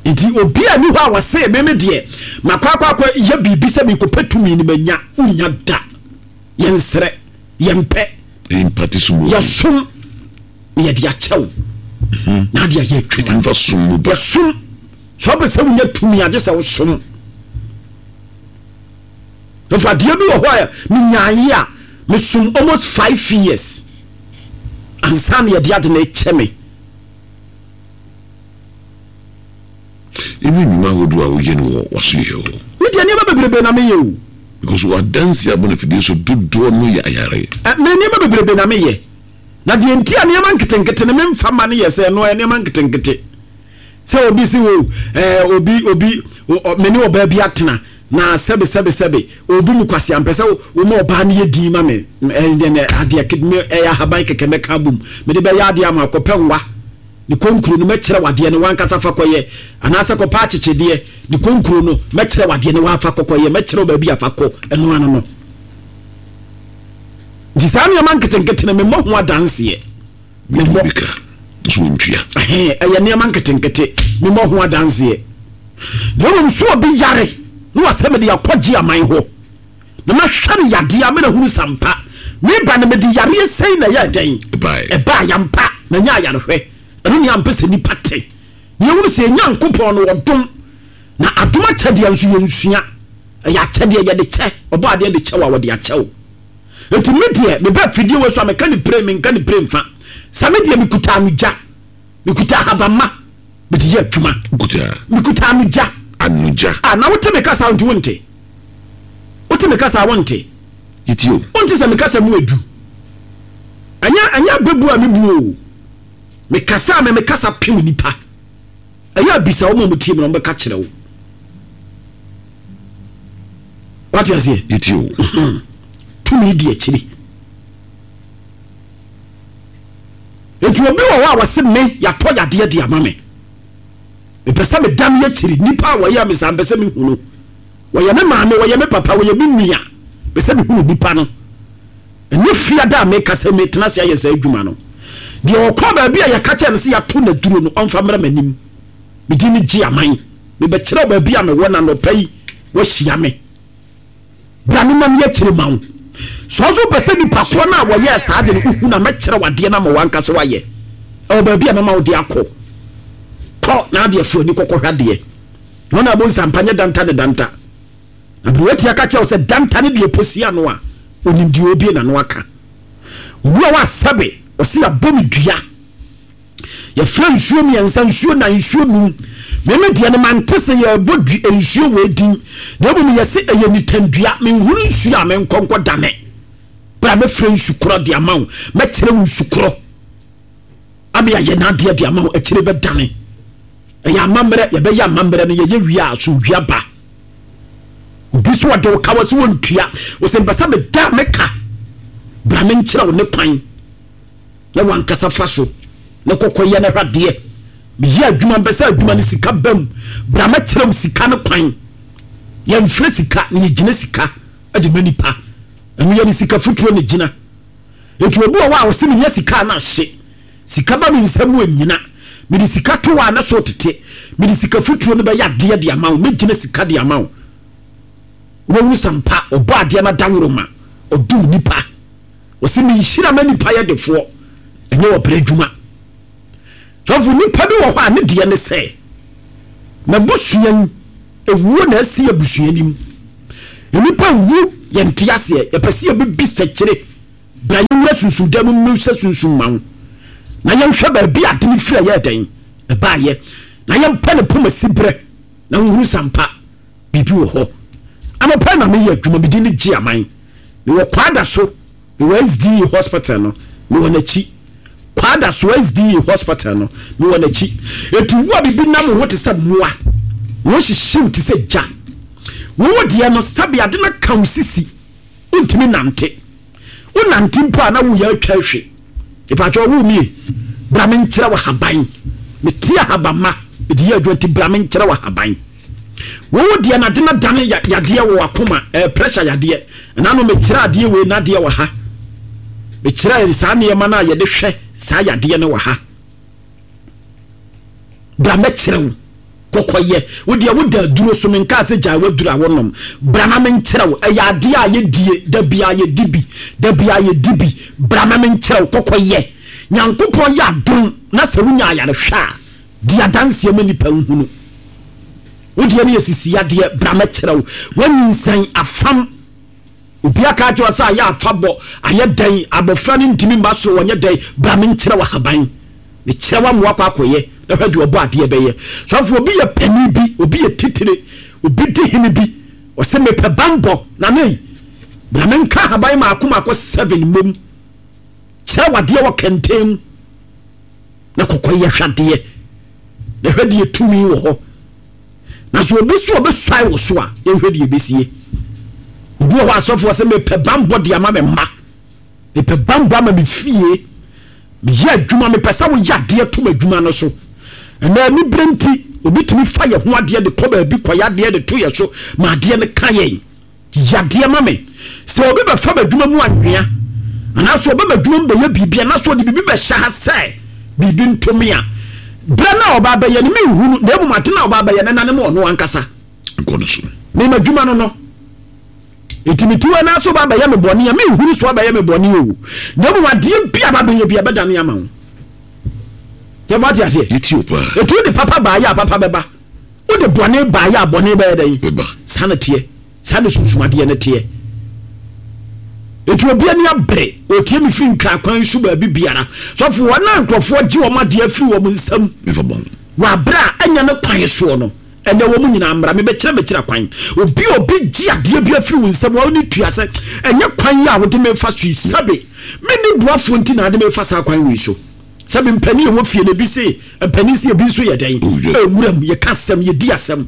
Nti obi a ni hɔ a wɔse me me deɛ makɔ akɔ akɔ yɛ biribi sɛ mekɔpɛ tumi no manya, wonnya da. Yɛnsrɛ, yɛmpɛ, yɛsom na yɛde akyɛ wo na ade ayɛ adwuma. Yɛsom. Sɛ wopɛ sɛ wonya tumi a, gye sɛ wosom. Nso adeɛ bi wɔ hɔ a menyaeɛ a, mesom almost 5 years ansa na yɛde ade no rekyɛ me. Ɛne nnwuma ahodoɔ a woyɛ no wɔ w'asoyɛ hɔ. Me deɛ, nneɛma bebrebe na meyɛ o. Because w'adansi abɔ no afidie so dodoɔ no yɛ ayare. Ɛ, me nneɛma bebrebe na meyɛ. Na deɛ nti a nneɛma nketenkete no memfa ma no yɛ sɛ ɛno ɛyɛ nneɛma nketenkete. Sɛ obi si wo, ɛɛ, obi, obi, me ne ɔbaa bi atena, na sɛbe, sɛbe, sɛbe, obi mu kwasea, mpɛ sɛ woma ɔbaa no yɛ din ma me, ɛɛ, adeɛ, ɛyɛ ahaban kɛkɛ mɛka abom, mede bɛyɛ adeɛ ama akɔpɛ nwa. Ne konkuro no, mɛkyerɛ wo adeɛ no, w'ankasa fa kɔyɛ. Anaasɛ kɔpɛ akyekyedeɛ, ne konkuro no, mɛkyerɛ wo adeɛ no, w'afa kɔkɔyɛ, mɛkyerɛ wo baabi a fa kɔ, ɛno ano no. Nti saa nneɛma nketenkete no, memmɔ ho adanseɛ. Memmɔ. Bi ka, nso wɔntua. Ɛyɛ nneɛma nketenkete, memmɔ ho adanseɛ. Na mmom so obi yare, na wasɛ mede akɔgye aman hɔ. Na mahwɛ no yadeɛ a, mena hunu sampa. Meba no mede yareɛ sɛn na ɛyɛɛ dɛn? Ɛbaeɛ ampa, manya ayarehwɛ. Ɛno nea mpɛ sɛ nnipa te. Na yɛhunu sɛ yɛn Nyankopɔn no ɔdom, na adom akyɛdeɛ nso yɛnsua. Ɛyɛ akyɛdeɛ yɛde kyɛ, ɔbɔ adeɛ de kyɛ wo a, wɔde akyɛ wo. Enti me deɛ, meba afidie wei so a, meka ne pire, menka ne pire mfa. Sɛ me deɛ mekuta anogya, mekuta ahabamma. Mede yɛ adwuma. Wokuta? Mekuta anogya. Anogya. Ah, na wote me kasa nti wonte? Wote me kasa wonte? Yɛtie o. Wonte sɛ me kasa mu edu? Ɛnyɛ ɛnyɛ abɛbu a mebu o. Me kasa a me me kasa pem nipa. Ɛyɛ abisa wɔn a wɔtie me na wɔbɛka kyerɛ wo. Wate aseɛ? Yɛtie o. Tumi di akyiri. Enti obi wɔ hɔ a wɔse me yɛatɔ yadeɛ de ama me. Mepɛ sɛ meda me akyiri. Nnipa a wɔyɛ me saa mpɛ sɛ mehu no. Wɔyɛ me maame, wɔyɛ me papa, wɔyɛ me nua. Mepɛ sɛ mehunu nipa no. Ɛnyɛ fiada a meka sɛ metena ase ayɛ saa adwuma no. Deɛ ɔkɔ baabi a yɛka kyerɛ no sɛ yɛato n'aduro no, ɔmfa mmra m'anim. Me din ne gye aman. Mebɛkyerɛ wo baabi a mewɔ na anɔpa yi woahyia me. Bra me nam yɛ kyerɛ ma wo. Sɛ ɔso pɛ sɛ nipa korɔ no a wɔyɛɛ saa de no wohu na mɛkyerɛ wadeɛ no ama wankasa wayɛ. Ɛwɔ baabi a mɛma wo de akɔ. Kɔ na adeɛ fo ani kɔkɔhwɛ adeɛ. Wɔn a bonsa mpa nyɛ danta ne danta. Na bere watia ka kyerɛ wo sɛ danta ne deɛ posi ano a, onim deɛ obie n'ano aka. Obi a wasɛbe, ɔse yɛabɔ me dua. Yɛfrɛ nsuo mmiɛnsa, nsuo nan, nsuo num. Meme deɛ no mante sɛ yɛrebɔ du nsuo wei din. Na mmom yɛse ɛyɛ nitandua. Menhunu nsuo a menkɔ nkɔ dane. Bra mɛfrɛ nsu korɔ de ama wo. Mɛkyerɛ wo nsu korɔ. Ame ayɛ n'adeɛ de ama wo. Akyire bɛdane. Ɛyɛ amammerɛ. Yɛbɛyɛ amammerɛ no yɛyɛ wie a asomdwoeɛ aba. Obi so ɔde wo ka wɔ sɛ wɔntua. Ɔsɛ mpɛ sɛ meda meka. Bra menkyerɛ wo ne kwan. Na wankasa fa so na kɔkɔ yɛ na hwɛ adeɛ. Meyɛ adwuma mpɛ sɛ adwuma no sika ba mu. Bra mɛkyerɛ wo sika no kwan. Yɛmfrɛ sika na yɛgyina sika de ma nipa. Ɛno yɛde sika fotuo na gyina. Enti obi wɔ hɔ a ɔse menya sika a na ahye. Sika ba me nsa mu anyina. Mede sika to hɔ a na so tete. Mede sika fotuo no bɛyɛ adeɛ de ama wo. Mɛgyina sika de ama wo. Wobɛhunu sɛ ampa ɔbɔ adeɛ no adaworoma. Ɔdom nipa. Ɔse me nhyira ma nipa yɛ defoɔ, ɛnyɛ ɔbrɛ adwuma. Sɔfo, nipa bi wɔ hɔ a ne deɛ ne sɛ, n'abusua yi, ewuo na asi abusua nim. Nnipa wu, yɛnte aseɛ, yɛpɛ sɛ yɛbɛbi sɛkyere. Bra yɛnwura sunsum dan mu mmisa sunsum ma wo, na yɛnhwɛ baabi a ade no firi a ɛyɛɛ dɛn ɛbaeɛ, na yɛmpɛ ne poma siberɛ, na wohunu sɛ ampa biribi wɔ hɔ. Anɔpa yi na meyɛ adwuma, me din ne Gye Aman. Mewɔ Kwada so, mewɔ SDA hospital no, mewɔ n'akyi. Kwada so SDA hospital no, mewɔ n'akyi. Eti wo a biribi nam wo ho te sɛ mmoa, wo ho hyehye wo te sɛ gya. Wo wo deɛ no, sɛbe ade no aka wo sisi, wontumi nante. Wonante mpo a na woyɛ atwa ahwe. Mepakyɛw wo nie, bra menkyerɛ wo ahaban. Mete ahabamma, mede yɛ adwuma nti bra menkyerɛ wo ahaban. Wo wo deɛ na de na dane yadeɛ wɔ wakoma, ɛɛ pressure yadeɛ. Ɛna no mekyerɛ adeɛ wei na adeɛ wɔ ha. Mekyerɛ saa nneɛma no a yɛde hwɛ saa yadeɛ no wɔ ha. Bra mɛkyerɛ wo kɔkɔyɛ. Wo deɛ woda aduro so, menkaa sɛ gyae w'aduro a wonom. Bra na menkyerɛ wo. Ɛyɛ adeɛ a yɛdie, da biara yɛdi bi, da biara yɛdi bi. Bra na menkyerɛ wo kɔkɔyɛ. Nyankopɔn yɛ adom na sɛ wonya ayarehwɛ a, di adanseɛ ma nnipa nhunu. Wo deɛ no yɛ sisi yadeɛ, bra mɛkyerɛ wo. Woanyinsɛn afam. Obi aka akyerɛ wo sɛ ayɛ afa bɔ, ayɛ dɛn, abɔfra no ntumi mma soro, ɔnyɛ dɛn, bra menkyerɛ wo ahaban. Mekyerɛ wo ama woakɔ akɔyɛ, na hwɛ deɛ ɔbɔ adeɛ bɛyɛ. Sɔfo, obi yɛ panin bi, obi yɛ titire, obi di hene bi, ɔsɛ mepɛ banbɔ, nana yi, bra menka ahaban maako maako seven mmom. Kyerɛ wo adeɛ wɔ kɛntɛn mu, na kɔkɔ yɛ hwɛ adeɛ, na hwɛ deɛ tumi wɔ hɔ. Na sɛ obi so ɔbɛsuae wo so a, yɛnhwɛ deɛ ɛbɛsie. Obi wɔ hɔ asɔfoɔ sɛ mepɛ banbɔ de ama me mma, mepɛ banbɔ ama me fie, meyɛ adwuma, mepɛ sɛ woyɛ adeɛ to m'adwuma no so. Ɛnna anibere nti, obi tumi fa yɛ ho adeɛ de kɔ baabi kɔyɛ adeɛ de to yɛ so ma adeɛ no ka yɛn. Yɛ adeɛ ma me. Sɛ obi bɛfa m'adwuma mu anwea, anaasɛ ɔba m'adwuma mu bɛyɛ biribi, anaasɛ ɔde biribi bɛhyɛ ha sɛ biribi nto me a, berɛ no a ɔba abɛyɛ no, menhu no, na mmom ade no a ɔba abɛyɛ no, ɛnane ma ɔno ankasa. Nkɔ no so. Me m'adwuma no no. Enti mete hɔ anaasɛ ɔba abɛyɛ me bɔne a, menhu no sɛ ɔbɛyɛ me bɔne o, na mmom adeɛ bi a ɔba abɛyɛ bi a, ɛbɛdane ama wo. Sɛ woate aseɛ? Yɛtie wo paa. Enti wode papa baeɛ a, papa bɛba. Wode bɔne baeɛ a, bɔne bɛyɛ dɛn? Bɛba. Saa na teɛ. Saa na sunsumadeɛ no teɛ. Enti obi ani abere, ɔtie me firi Nkran kwan so baabi biara. Sɔfo, wɔn a nkurɔfoɔ gye wɔn adeɛ afiri wɔn nsam wɔ aberɛ a ɛnyɛ ne kwan soɔ no, ɛnnɛ wɔn nyinaa mmra, mebɛkyerɛ mekyerɛ kwan. Obi a obi gye adeɛ bi afiri wo nsam a wone tua sɛ, ɛnyɛ kwan yi a wode me fa so yi, sɛbe menni boafoɔ nti na ade me fa saa kwan wei so. Sɛbe mpanin a ɛwɔ fie no, ebi se, mpanin se ebi nso yɛ dɛn? Nwuram, yɛka asɛm, yɛdi asɛm.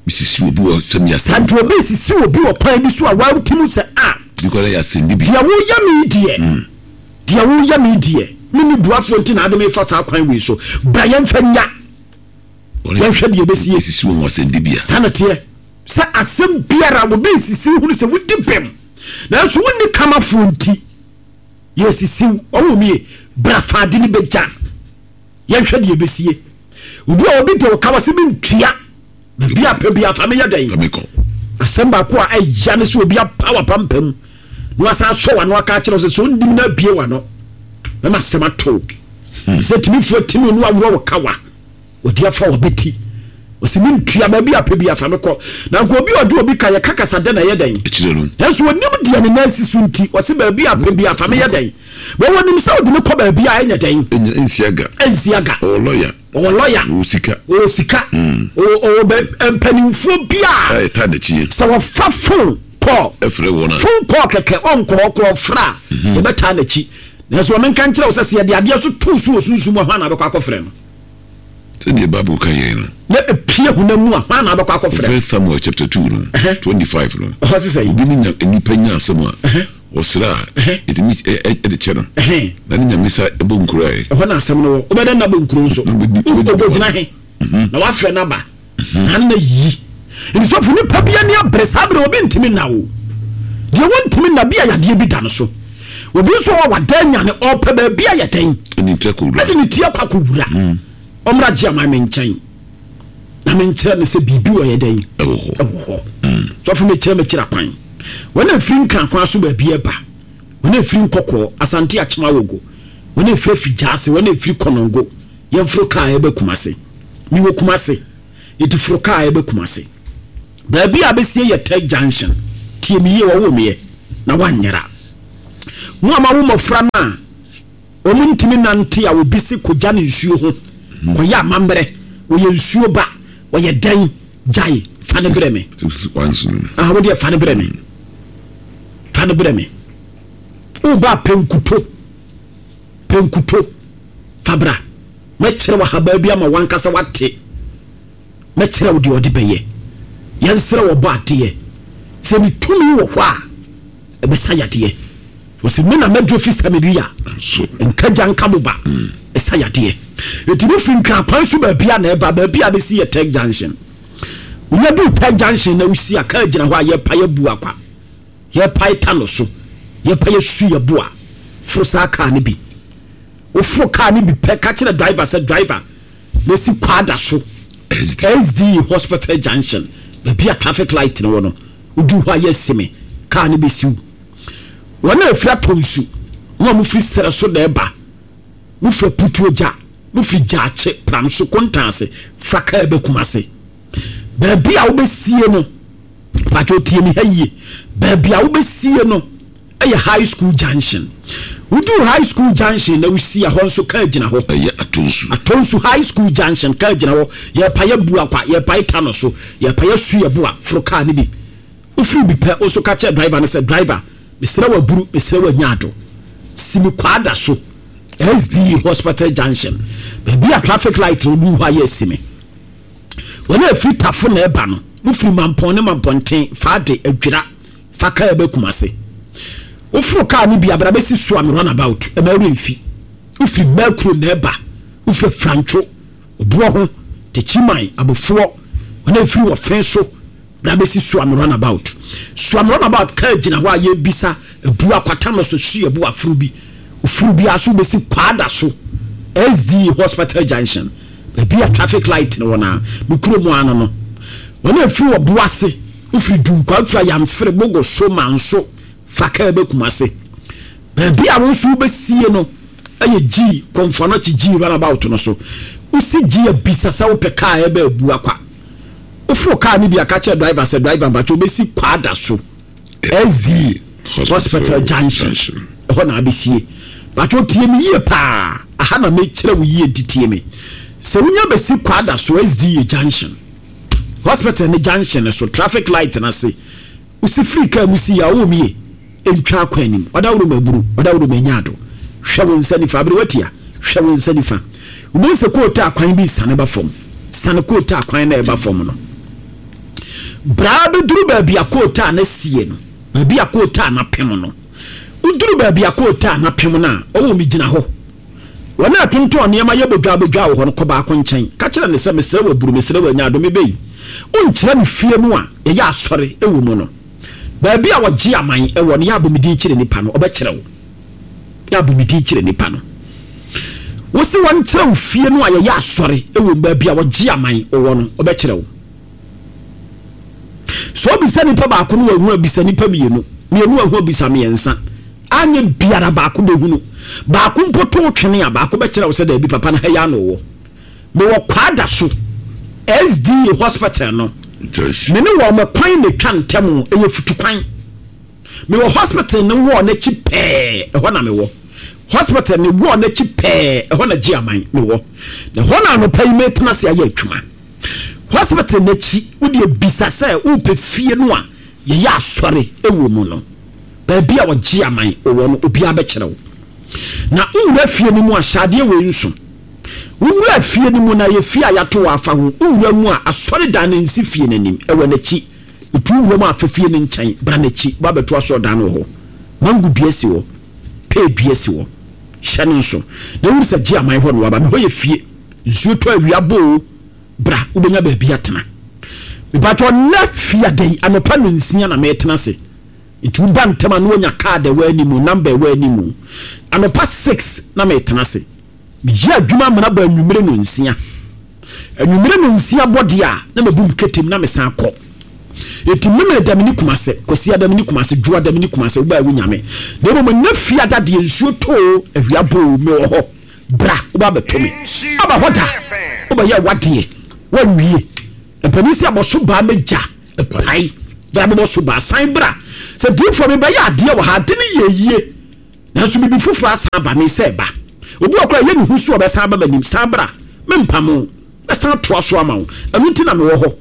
Misisi obi wɔ sɛ mi asɛm. Saa nti obi sisi obi wɔ kwan bi so a wate mu sɛ a. Bi kɔ yɛ asɛm bi. Deɛ woyɛ me deɛ, deɛ woyɛ me deɛ, me ni buafoɔ nti na ade me fa saa kwan wei so. Bra yɛmfa nya. Yɛnhwɛ deɛ ɛbɛsie. Esisi wɔn wɔ asɛnnibea. Saa na teɛ. Sɛ asɛm biara obi nsisi hunu sɛ wodi bem, nanso wonni kamafoɔ nti yɛsisi wo. Ɔwɔ mu ye, bra fa ade no bɛgya. Yɛnhwɛ deɛ ɛbɛsie. Obi a obi de wo ka wɔ se mentua. Baabi a pɛ bi afa meyɛ dɛn? Asɛm baako a ɛya ne sɛ obi apa w'apampam na wasan asɔ w'ano aka akyerɛ wo sɛ sɛ ɔnnim na abie w'ano mɛma asɛm ato wo. Hmm. Sɛ timifoɔ timi no aworɔ wo kawa wɔde afa w'abati ɔsɛ mentua baabi a pɛ bi afa mekɔ na nka obi ɔde obi ka yɛka kasa dɛ na ɛyɛ dɛn nanso ɔnim deɛ ne nan si so nti ɔsɛ baabi a pɛ bi afa meyɛ dɛn wɔwɔ nim sɛ ɔde me kɔ baabi a ɛnyɛ dɛn ɛnsi aga ɔwɔ lɔya Ɔwɔ lɔya. Ɔwɔ sika. Ɔwɔ sika. Ɔwɔ ɔwɔ bɛ mpanimfoɔ bi a. A ɛtaa n'akyi. Sɛ wɔfa phone call. Ɛfrɛ wɔn a. Phone call kɛkɛ ɔnkɔ hɔ koraa ɔfrɛ a. Yɛbɛtaa n'akyi. Nanso ma menka nkyerɛ wo sɛ sɛ yɛde adeɛ so to so wɔ sunsum mu a hwan na abɛkɔ akɔfrɛ no? Sɛdeɛ Bible ka yɛn no. Na epie honam mu a hwan na abɛkɔ akɔfrɛ no? First Samuel chapter 2 no, 25 no. Ɛhɔ se sɛn? Obi ne nya nipa nya asɛm a. Ɔsrɛ a, yɛtumi de kyɛ no, na ne Nyame sa bɔ nkuro ɛ. Ɛhɔ na asɛm no wɔ. Wobɛdɛn na bɔ nkuro nso? Ogyina he na wafrɛ no aba na na yi. Nti sɔfo nipa bi ani abere saa bere obi ntumi nna o. Deɛ wɔntumi nna bi a yadeɛ bi da no so. Obi nso wɔ wada anyane ɔpɛ baabi a yɛ dɛn? Ɛde ne ti akɔ akɔwura. Ɔmmra gye aman me nkyɛn na menkyerɛ no sɛ biribi wɔ yɛ dɛn? Ɛwɔ hɔ. Sɔfo mekyerɛ mekyerɛ kwan. Wɔn a ɛfiri Nkran kwan so baabi reba, wɔn a ɛfiri Nkɔkɔɔ, Asante Akyem Awogo, wɔn a ɛfiri Afigyaase, wɔn a ɛfiri Kɔnɔngo, yɛmforo kaa ɛba Kumase. Mewɔ Kumase, yɛti foro kaa ɛba Kumase. Baabi a bɛsie yɛ Tech Junction. Tie me yie, wɔwoo meɛ na woanyera. Mo a moawo mmɔfra no a wɔn ntumi nante a obi se kɔgya no nsuo ho, kɔyɛ amammerɛ, wɔyɛ nsuo ba, wɔyɛ dɛn? Gyae, fa no brɛ me. Ah, wo deɛ fa no brɛ me. Fa no brɛ me. Woba pɛ nkuto. Pɛ nkuto. Fa bra. Mɛkyerɛ wo ahabaa bi ama wankasa wate. Mɛkyerɛ wo deɛ ɔde bɛyɛ. Yɛnsrɛ wɔ bɔ adeɛ. Sɛ ne tumi wɔ hɔ a, ɛbɛsa yadeɛ. Wɔsi me na mɛdwo fi Samaria. Nka gya nka boba. Ɛsa yadeɛ. Eti mo firi Nkran kwan so baabi a na ɛba baabi a bɛsi yɛ Tech Junction. Wonya duu Tech Junction na wosi a kaa gyina hɔ a yɛpae abu akwa. Yɛpae ta no so. Yɛpae asu yɛ bo a. Foro saa kaa no bi. Woforo kaa no bi pɛ ka kyerɛ driver sɛ driver mɛsi Kwada so SDA Hospital Junction baabi a traffic light no wɔ no. Woduu hɔ a yɛasi me kaa no bɛsiw. Wɔn a ɛfiri atɔ nsu na wɔn firi serɛ so na ɛba, mo firi Aputuogya, mo firi Gyaakye, Pramso, Kontaase, fa kaa ba Kumase. Baabi a wobɛsie no, patro tie me ha yie, baabi a wobɛsie no ɛyɛ High School Junction. Woduu High School Junction na wosi a, hɔ nso kaa gyina hɔ. Ɛyɛ Atonsu. Atonsu High School Junction, kaa gyina hɔ. Yɛrepae Abuakwa, yɛrepae Tano so, yɛrepae Asuaboa, foro kaa no bi. Wofiri bi pɛ, wo nso ka kyerɛ driver no sɛ, Driver, mesrɛ wo aburu, mesrɛ wo anyaado. Si me Kwada so, SDA Hospital Junction, baabi a traffic light no woduu hɔ a yɛ asi me. Wɔn a ɛfiri Tafo na ɛba no, mofiri Mampɔn ne Mampɔnten, Faade, Adwira, fa kaa ba Kumase. Woforo kaa no bi a, bra bɛsi Suame runabout, ɛma werɛ mfi. Wofiri Mɛkuro na ɛba, wofiri Afrantwo, Obuoho, Techiman, Abofoɔ, wɔn a ɛfiri Ɔfe so, bra bɛsi Suame runabout. Suame runabout kaa gyina hɔ a yɛrebisa Abu Akwata no so, Suabu aforo bi. Woforo bi ara so wobɛsi Kwada so, SDA Hospital Junction, baabi a traffic light no wɔ no ara, me kurom ano no. Wɔn a ɛfiri Ɔboase, wofiri Dunkwa, wofiri Ayamfere, Bogoso, Manso, fa kaa ba Kumase. Baabi a wo nso wobɛsie no yɛ G, Komfo Anokye G runabout no so. Wosi G a, bisa sɛ wopɛ kaa a ɛba Abuakwa. Woforo kaa no bi a, ka kyerɛ driver sɛ, driver mpakyɛ wobɛsi Kwada so, SD Hospital Junction, ɛhɔ na abɛsie. Mpakyɛ tie me yie paa, aha na mekyerɛ wo yie nti tie me. Sɛ wonya bɛsi Kwada so, SDA Junction, Hospital ne junction no so, traffic light no ase, wosi firi kaa mu si yɛ a, ɔwɔ mu yie, ntwa akwan anim, ɔdaworo ma aburu, ɔdaworo ma anya ado. Hwɛ wo nsa nifa, aberewa tia, hwɛ wo nsa nifa. Wobɛhu sɛ kootaa kwan bi resiane ba fam. Siane kootaa kwan no a ɛba fam no. Bra bɛduru baabi a kootaa no asie no, baabi a kootaa no apem no. Woduru baabi a kootaa no apem no a, ɔwɔ mu gyina hɔ. Wɔn a ɛtontɔn nneɛma yɛ bodwaabodwaa wɔ hɔ no, kɔ baako nkyɛn. Ka kyerɛ no sɛ, 'Mesrɛ wo aburu, mesrɛ wo anya adom, me ba yi, wonkyerɛ me fie no a yɛyɛ asɔre wɔ mu no? Baabi a wɔgye aman wɔ no, yɛ abɔ me din kyerɛ nnipa no, ɔbɛkyerɛ wo. Yɛ abɔ me din kyerɛ nnipa no. Wose wɔnkyerɛ wo fie no a yɛyɛ asɔre wɔ mu, baabi a wɔgye aman wɔ no, ɔbɛkyerɛ wo. Sɛ obisa nipa baako no wahu a, bisa nipa mmienu. Mmienu ahu a, bisa mmiɛnsa. Anyɛ biara baako bɛhunu. Baako mpo to wo twene a, baako bɛkyerɛ wo sɛ daabi papa no ha yi ara na ɔwɔ. Mewɔ Kwada so, SDA hospital no. Me ne wɔn kwan na ɛtwa ntɛm, ɛyɛ futukwan. Mewɔ hospital no wall no akyi pɛɛ, ɛhɔ na mewɔ. Hospital no wall no akyi pɛɛ, ɛhɔ na Gyeaman mewɔ. Na ɛhɔ na anɔpa yi metena ase ayɛ adwuma. Hospital no akyi, wo deɛ bisa sɛ wopɛ fie no a yɛyɛ asɔre wɔ mu no, baabi a ɔgye aman wɔ no, obiara bɛkyerɛ wo. Na wowura fie no mu a, hyɛ adeɛ wei nso. Wowura fie no mu no, ɛyɛ fie a yɛato wɔ afa ho. Wowura mu a, asɔredan no nsi fie no anim, ɛwɔ n'akyi. Wotu wura mu a, fa fie no nkyɛn, bra n'akyi, ba bɛto asɔredan no wɔ hɔ. Mango dua si hɔ, pear dua si hɔ. Hyɛ no nso, na hunu sɛ gye aman hɔ na waba. Me hɔ yɛ fie. Nsuo tɔ awia bɔ oo, bra wobɛnya baabi atena. Mepakyɛw nnɛ fiada yi anɔpa nonsia na metena ase. Nti woba ntɛm a na wanya card a ɛwɔ anim, number a ɛwɔ anim. Anɔpa six na metena ase. Meyɛ adwuma amena bɔ anwummere nonsia. Anwummere nonsia bɔ deɛ a na mabu me ketem na mesan kɔ. Enti Memeneda menni Kumase, Kwasiada menni Kumase, Dwoada menni Kumase, wobaa wonya me. Na mmom nnɛ fiada deɛ nsuo tɔ oo, awia bɔ oo, mewɔ hɔ. Bra, woba abɛto me. Aba hɔ da, wobɛyɛ w'adeɛ, woanwie. Mpanin sɛ bɔ so baa mɛgya pae. Bra bɛbɔ so baa, san bra. Sɛ diifoɔ mebɛyɛ adeɛ wɔ ha, ade no yɛ yie. Nanso biribi foforɔ asan aba, mesɛ ba. Obi wɔ koraa ɛyɛ ne hu so ɔbɛsan aba m'anim, san bra, mempamo wo, mɛsan atoa so ama wo. Ɛno nti na mewɔ hɔ.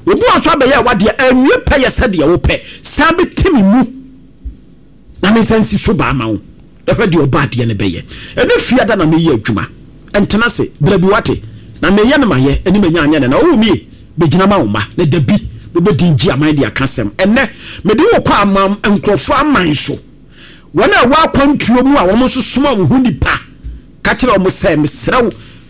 Obi wɔ nso abɛyɛ w'adeɛ, anwie pɛyɛ sɛdeɛ wopɛ, san bɛti me mu. Na me nsa nsi so baa ma wo, na hwɛ deɛ ɔbɔadeɛ no bɛyɛ. Ɛnnɛ Fiada na mereyɛ adwuma. Ntena ase, bra bi woate? Na mereyɛ no mayɛ, ɛne manya anyɛ no na oh me, bɛgyina ma wo mma, na da bi mobɛdin gye aman de aka asɛm. Ɛnnɛ, mede wo rekɔ aman, nkurɔfoɔ aman so, wɔn a ɛwɔ akwantuo mu a wɔn nso soma wo ho nnipa, ka kyerɛ wɔn sɛ, mesrɛ wo,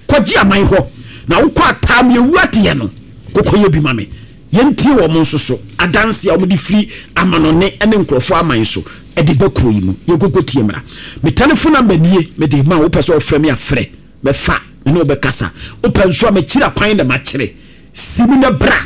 kɔgye aman hɔ, na wokɔ a taa me awu adeɛ no, kɔkɔyɛ bi ma me. Yɛntie wɔn nso so adanse a wɔde firi amanɔne ne nkurɔfoɔ aman so de ba kuro yi mu. Yɛnkɔkɔ tie mmra. Me telephone number nie, mede rema wo. Wopɛ sɛ wofrɛ me a, frɛ. Mɛfa, me ne wo bɛkasa. Wopɛ nso a, m'akyiri akwan na makyerɛ. Si mu na bra.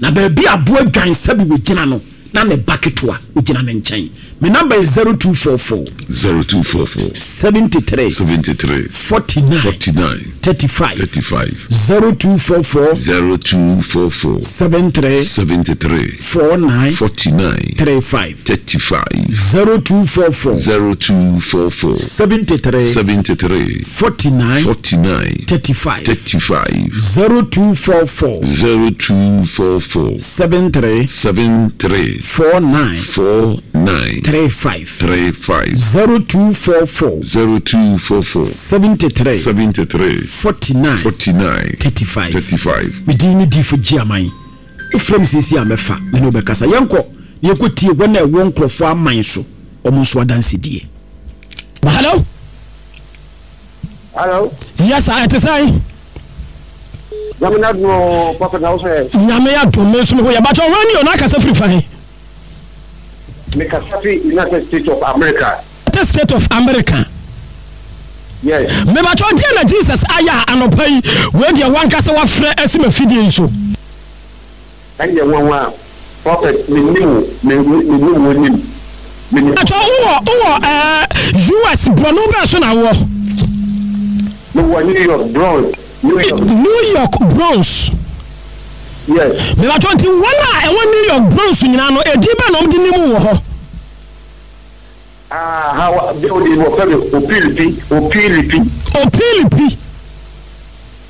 Na baabi a aboa dwan sɛbe wɔgyina no, na ne ba ketewa ogyina ne nkyɛn. Me number yɛ 0244. 0244. 73. 73. 49. 49. 35. 35. 0244. 0244. 73. 73. 49. 49. 35. 35. 0244. 0244. 73. 73. 49. 49. 35. 35. 0244. 0244. 73. 73. 49. 49. 35. 35. 0244. 0244. 73. 73. 49. 49. 35. 35. Me din ne Difo Gyeaman. Wofrɛ me seesei a mɛfa, me ne wo bɛkasa. Yɛnkɔ na yɛnkɔtie wɔn a ɛwɔ nkurɔfoɔ aman so, wɔn nso adansedie. Hello. Hello. Yes sir, ɛte sɛn? Nyame n'adom o, Prophet na wo so ɛ? Nyame adom, me nso me ho yɛ. Bakyɛ wɔn ni o, na akasa firi fan? Me kasa firi United States of America. United States of America. Yes. Me bakyɛ deɛ na Jesus ayɛ a anɔpa yi, wei deɛ wankasa wafrɛ asi m'afidie yi so. Ɛnyɛ nwanwa prophet me nim wo me me nim wo nim me nim. Pakyɛ wo wɔ wo wɔ ɛɛ US brɔno bɛn so na wo wɔ. Me wɔ New York Bronx New York. New York Bronx. Yes. Me pakyɛ nti wɔn a ɛwɔ New York Bronx nyinaa no edin bɛn na wɔn de nim wo wɔ hɔ. Ah ha wa deɛ odi wɔ fɛ mi opilipi opilipi. Opilipi.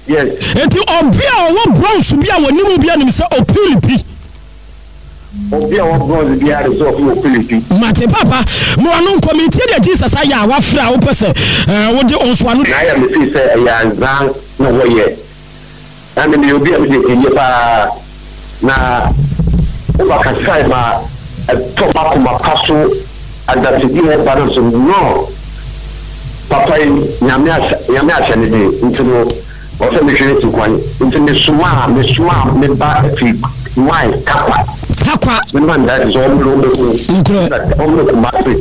Yes. Enti obi a ɔwɔ bronze bi a wɔnim wo biara nim sɛ Opilipi. Obi a ɔwɔ bronze biara nim sɛ ɔfi Opilipi. Mate papa, ma w'ano nkɔ, metie deɛ Jesus ayɛ a wafrɛ a wopɛ sɛ eh, wode wo nso ano. Na ayɛ me feel sɛ ɛyɛ anzaa na wɔyɛ. Na me meyɛ obi a medi akyinnye paa, na woba kasae ma ɛtɔ m'akoma pa so adansedi a ɛba no so no papa yi Nyame ahyɛ Nyame ahyɛ ne den nti no ɔsɛ mehwɛ n'akyi kwan nti mesomaa mesomaa me ba firi Mai Tarkwa Tarkwa me ma no daakye sɛ ɔmmrɛ ɔmmɛhu Nokorɛ. ɔmmrɛ Kumasi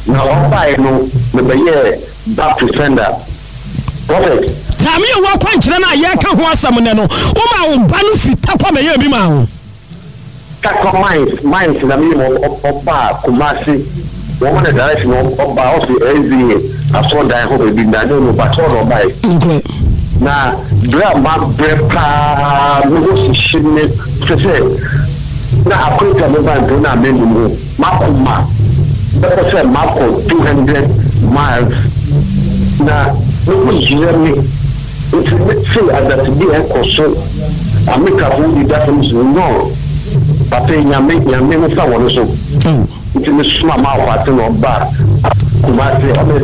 na ɔbaeɛ no mebɛyɛɛ Back to sender prophet. Taame a ɛwɔ akwankyerɛ no a yɛreka ho asɛm nnɛ no, womaa wo ba no firi Tarkwa bɛyɛɛ bi maa wo. Tarkwa mines mines na meyɛ ma ɔbaa Kumasi wɔn ma no direction ɔbaa ɔsi SDA asɔrdan hɔ baabi na ne no but hɔ na ɔbae. Nokorɛ. Na berɛ a mabrɛ paa me ho hyehye me kyerɛ sɛ na akwantu a meba mpo na mennim ho. M'akoma bɛpɛ sɛ makɔ 200 miles na me ho yera me nti me tee adasedi a ɛkɔ so Amerikafo wodi da fam so no papa yi Nyame Nyame nsa wɔ no so nti me soma m'akwate na ɔba Kumasi ɔbɛ ɛ.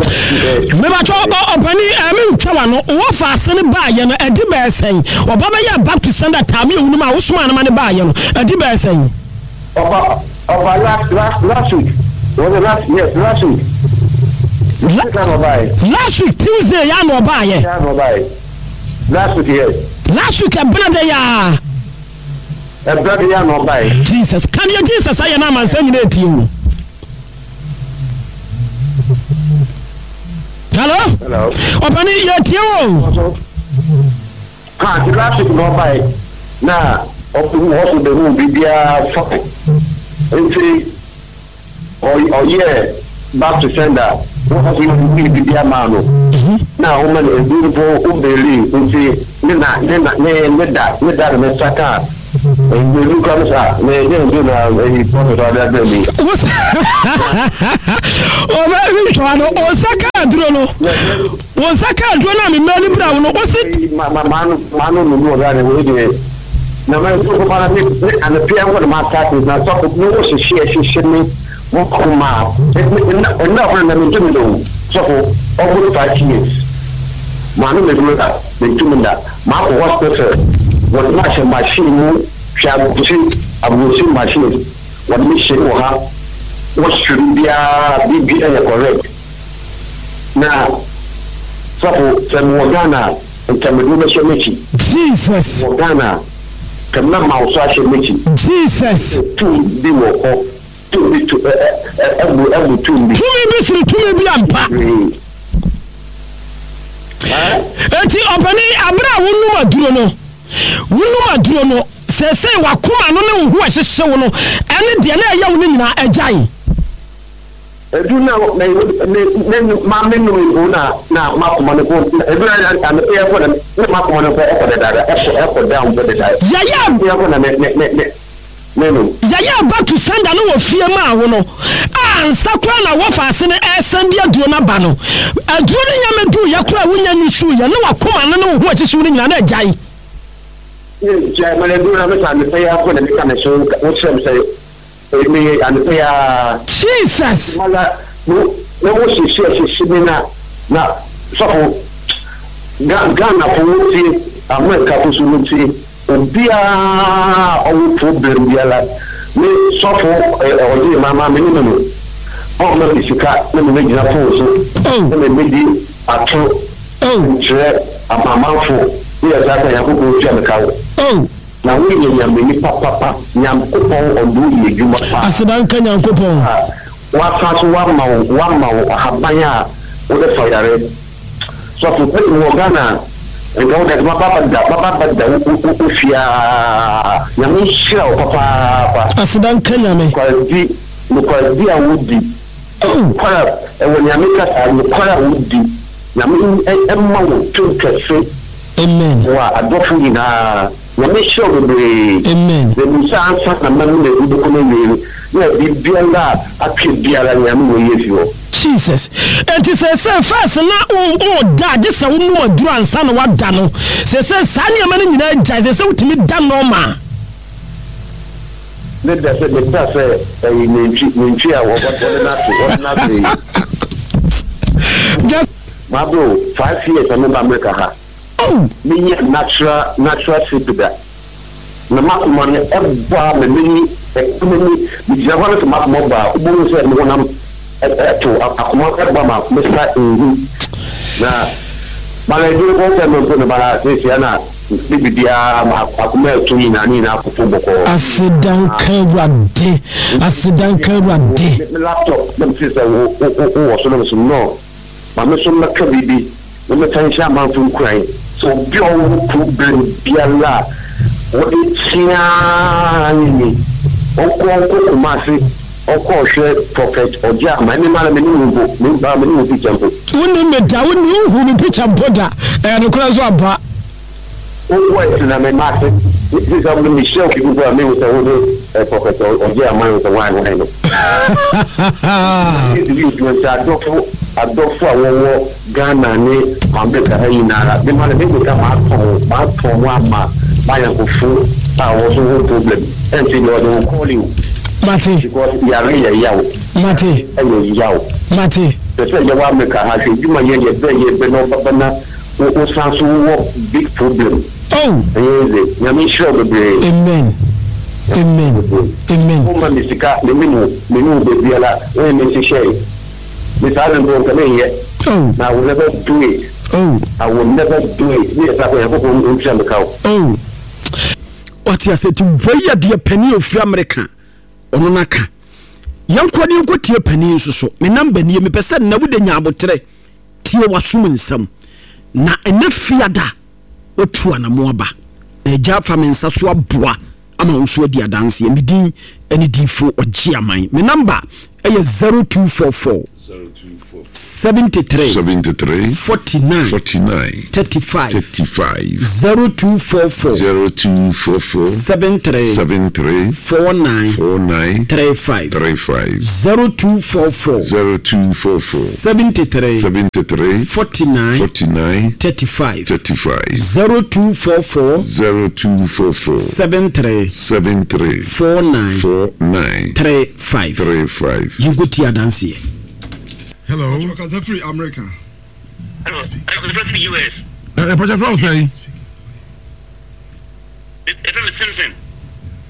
Mebatɔ ɔpani ɛ me ntwa wano wɔ faase no baa yɛ no ɛdi bɛɛ sɛn ɔba bɛyɛ Baptist sanda taame ewunum a wosomaa no ma no baa yɛ no ɛdi bɛɛ sɛn. Ɔba ɔba last last last week was it last yes last week. La last week Tuesday ya na ɔbaa yɛ. Ya na ɔbaa yɛ last week yes. Last week ɛbena de ya. Ɛbena de ya na ɔbaa yɛ. Jesus kan yɛ Jesus ayɛ na amansan nyina etie o. Hello. Hello. Ɔpani yɛ tie o. Ha nti last week na ɔbae na ɔhu hɔ so behuu biribiara fine nti ɔyɛɛ back to sender wɔ hɔ so yɛ biribiara maa no na ɔma no aduru mpo obeeli nti ne na ne na ne ne da ne da na ne nsa kaa nduru kura no saa na ɛnyɛ nduru na ɛyi prɔfɛt ɔde abrɛ mi. Ɔbɛ ntwa no ɔnsa kaa aduro no. Wo nsa ka aduro no a me mmaa no bira wo no, wo se. Ma ma ma no ma no no mu ɔbra ne wei deɛ na ma nso ko para me me anapia nkɔ na ma start na sɔfo me wo hyehye hyehye me mo koma nna nna ɔkora na me ntumi da o sɔfo almost 5 years ma no me duro da me ntumi da ma akɔ hospital wɔde ma hyɛ machine mu hwɛ aburokyiri aburokyiri machine wɔde me hyɛ wɔ ha wɔhwehwɛ biribiara biribiara yɛ correct. Na sɔfo sɛ mewɔ Ghana a nka mede wo bɛhyɛ m'akyi. Jesus. Mewɔ Ghana a nka mɛma wo so ahyɛ m'akyi. Jesus. Sɛ tum bi wɔ hɔ, tum bi to ɛ ɛ ɛbu ɛbu tum bi. Tumi bi sene tumi bi ampa. Bebree. Ɛ? Enti ɔpanin, abere a wonom aduro no, wonom aduro no. Seesei w'akoma no ne wo ho a ɛhyehye wo no ne deɛ na ɛyɛ wo no nyinaa agyae. Edu na me me me ma me nom mpo na na m'akoma no mpo edu na anɔpa yi mpo na na m'akoma no mpo ɛkɔ dadaada ɛkɔ ɛkɔ down mpo deda. Yɛyɛ Anɔpa yi mpo na me me me me me nom. Yɛyɛ back to sender no wɔ fie maa wo no a ansa koraa na wɔfa ase no ɛresan de aduro no aba no aduro no nya mɛduu yɛ koraa a wonya nyusuu yɛ ne w'akoma no ne wo ho a ɛhyehye wo no nyinaa na agyae. Na agyae ma no aduro no a mesa anɔpa yi ara mpo na meka me so wokyerɛ me sɛ Meyɛ anɔpa yi ara. Jesus. Mala mo na mo hyehye hyehye me na na sɔfo Ga Ghana fo wo tie America fo so wo tie obiara ɔwɔ problem biara me sɔfo ɔgye ma ma me ne no ɔma me sika na me gyina phone so na me me di atoro nkyerɛ amanfo ne yɛ saa ka Nyankopɔn tua me ka wo. Na wo yɛ Nyame nipa papa Nyankopɔn ɔde wo yɛ adwuma paa. Aseda nka Nyankopɔn. A wasan so wama wo wama wo ahaban a wode sa yare. Sɔfo pɛ me wɔ Ghana a nka wo dade maba abɛda maba abɛda wo wo wo fie aa Nyame nhyira wo papaapa. Aseda nka Nyame. Nokwaredi nokwaredi a wo di nokware a ɛwɔ Nyame kasa nokware a wo di Nyame mma wo tum kɛse. Amen. Boa adɔfo nyinaa. Nyame nhyira wo bebree. Amen. Na nim sɛ ansa na mɛnom adu bɛkɔ n'awiei no na biribiara a atwe biara Nyame wɔ yi afi hɔ. Jesus. Enti seesei first na wo wo da gye sɛ wo nom aduru ansa na wada no seesei saa nneɛma no nyinaa agyae seesei wotumi da normal. Me da sɛ me da sɛ ɛyi nantwi nantwi a wɔde no ato wɔde no ato yi. Just. Mabro 5 years na meba America ha. Oh. Menya natural natural sleep da. Na m'akoma no ɛbɔ a me m'ani ɛka m'ani megyina hɔ no sɛ m'akoma bɔ a wobɛhu sɛ me honam ɛto akoma ɛbɔ ma mesa nhu na bala aduro bɔ sɛ me mpo no bala seesia na me biribiara akoma ɛto nyinaa ne nyinaa akoto bɔkɔɔ. Aseda nka Awurade aseda nka Awurade. Me laptop na mete sɛ wo wo wɔ so na me so no. Ma me nso mmɛka biribi na mɛsan nhyɛ amanfo nkuran sɛ obi a ɔwɔ problem biara a wɔde tea ara nye ni, ɔnkɔ ɔnkɔ Kumasi ɔnkɔ ɔhwɛ Prophet Ɔgyeama, ɛne mara mennim wo mpo, me mara mennim wo picture mpo. Wonnim me da, wonni wonhuu me picture mpo da, ɛyɛ nokorɛ nso ampa. Wo voice na me mate, me sɛ me mehyia obi mpo a mehu sɛ wo ne Prophet Ɔgyeama no sɛ hwan hwan no. Yesu yɛ adwuma nti adɔfo adɔfo a wɔwɔ Ghana ne America ha nyinara me ma no me meka matɔn matɔn mo ama m'ayɔnkofo a wɔn nso wɔ problem ɛnti deɛ ɔde wo call you. Mate. Because yare yɛ yaw. Mate. Ɛyɛ yaw. Mate. Sɛ sɛ yɛwɔ America ha hwɛ adwuma yɛ yɛ brɛ yɛ brɛ na ɔbaba na wo wo san so wowɔ big problem. Oh. Ɛnyɛ easy. Nyame nhyira wo bebree. Amen. Amen. Amen. Wo ma me sika, me nim wo, me ne wo baabiara, wo ne me nhyehyɛe. Me saa no mpo nka me nyɛ. Oh. Na I will never do it. Oh. I will never do it. Me yɛ saa kɔ Nyankopɔn ntua me ka o. Oh. Wate ase nti wei yɛ deɛ panin a ofiri Amerika ɔno no aka. Yɛnkɔ ne yɛnkɔ tie panin nso so. Me namba nie mepɛ sɛ nnɛ wode nya aboterɛ tie w'asom nsɛm. Na ɛnɛ fiada watu anamo aba. Na agya afa me nsa so aboa ama wo nso adi adanseɛ. Me din ne Diifo Ɔgyeaman. Me namba yɛ 0244 73 73 49 49 35 35 0244 0244 73 73 49 49 35 35 0244 0244 73 73 49 49 35 35 0244 0244 73 73 49 49 35 35. Yɛnkɔtie adanseɛ. Hello. Ɔkasa firi America. Hello, ɛfɛ firi US. Ɛpɛkyɛ fɛn sɛn? Ɛfɛ mi Simpson.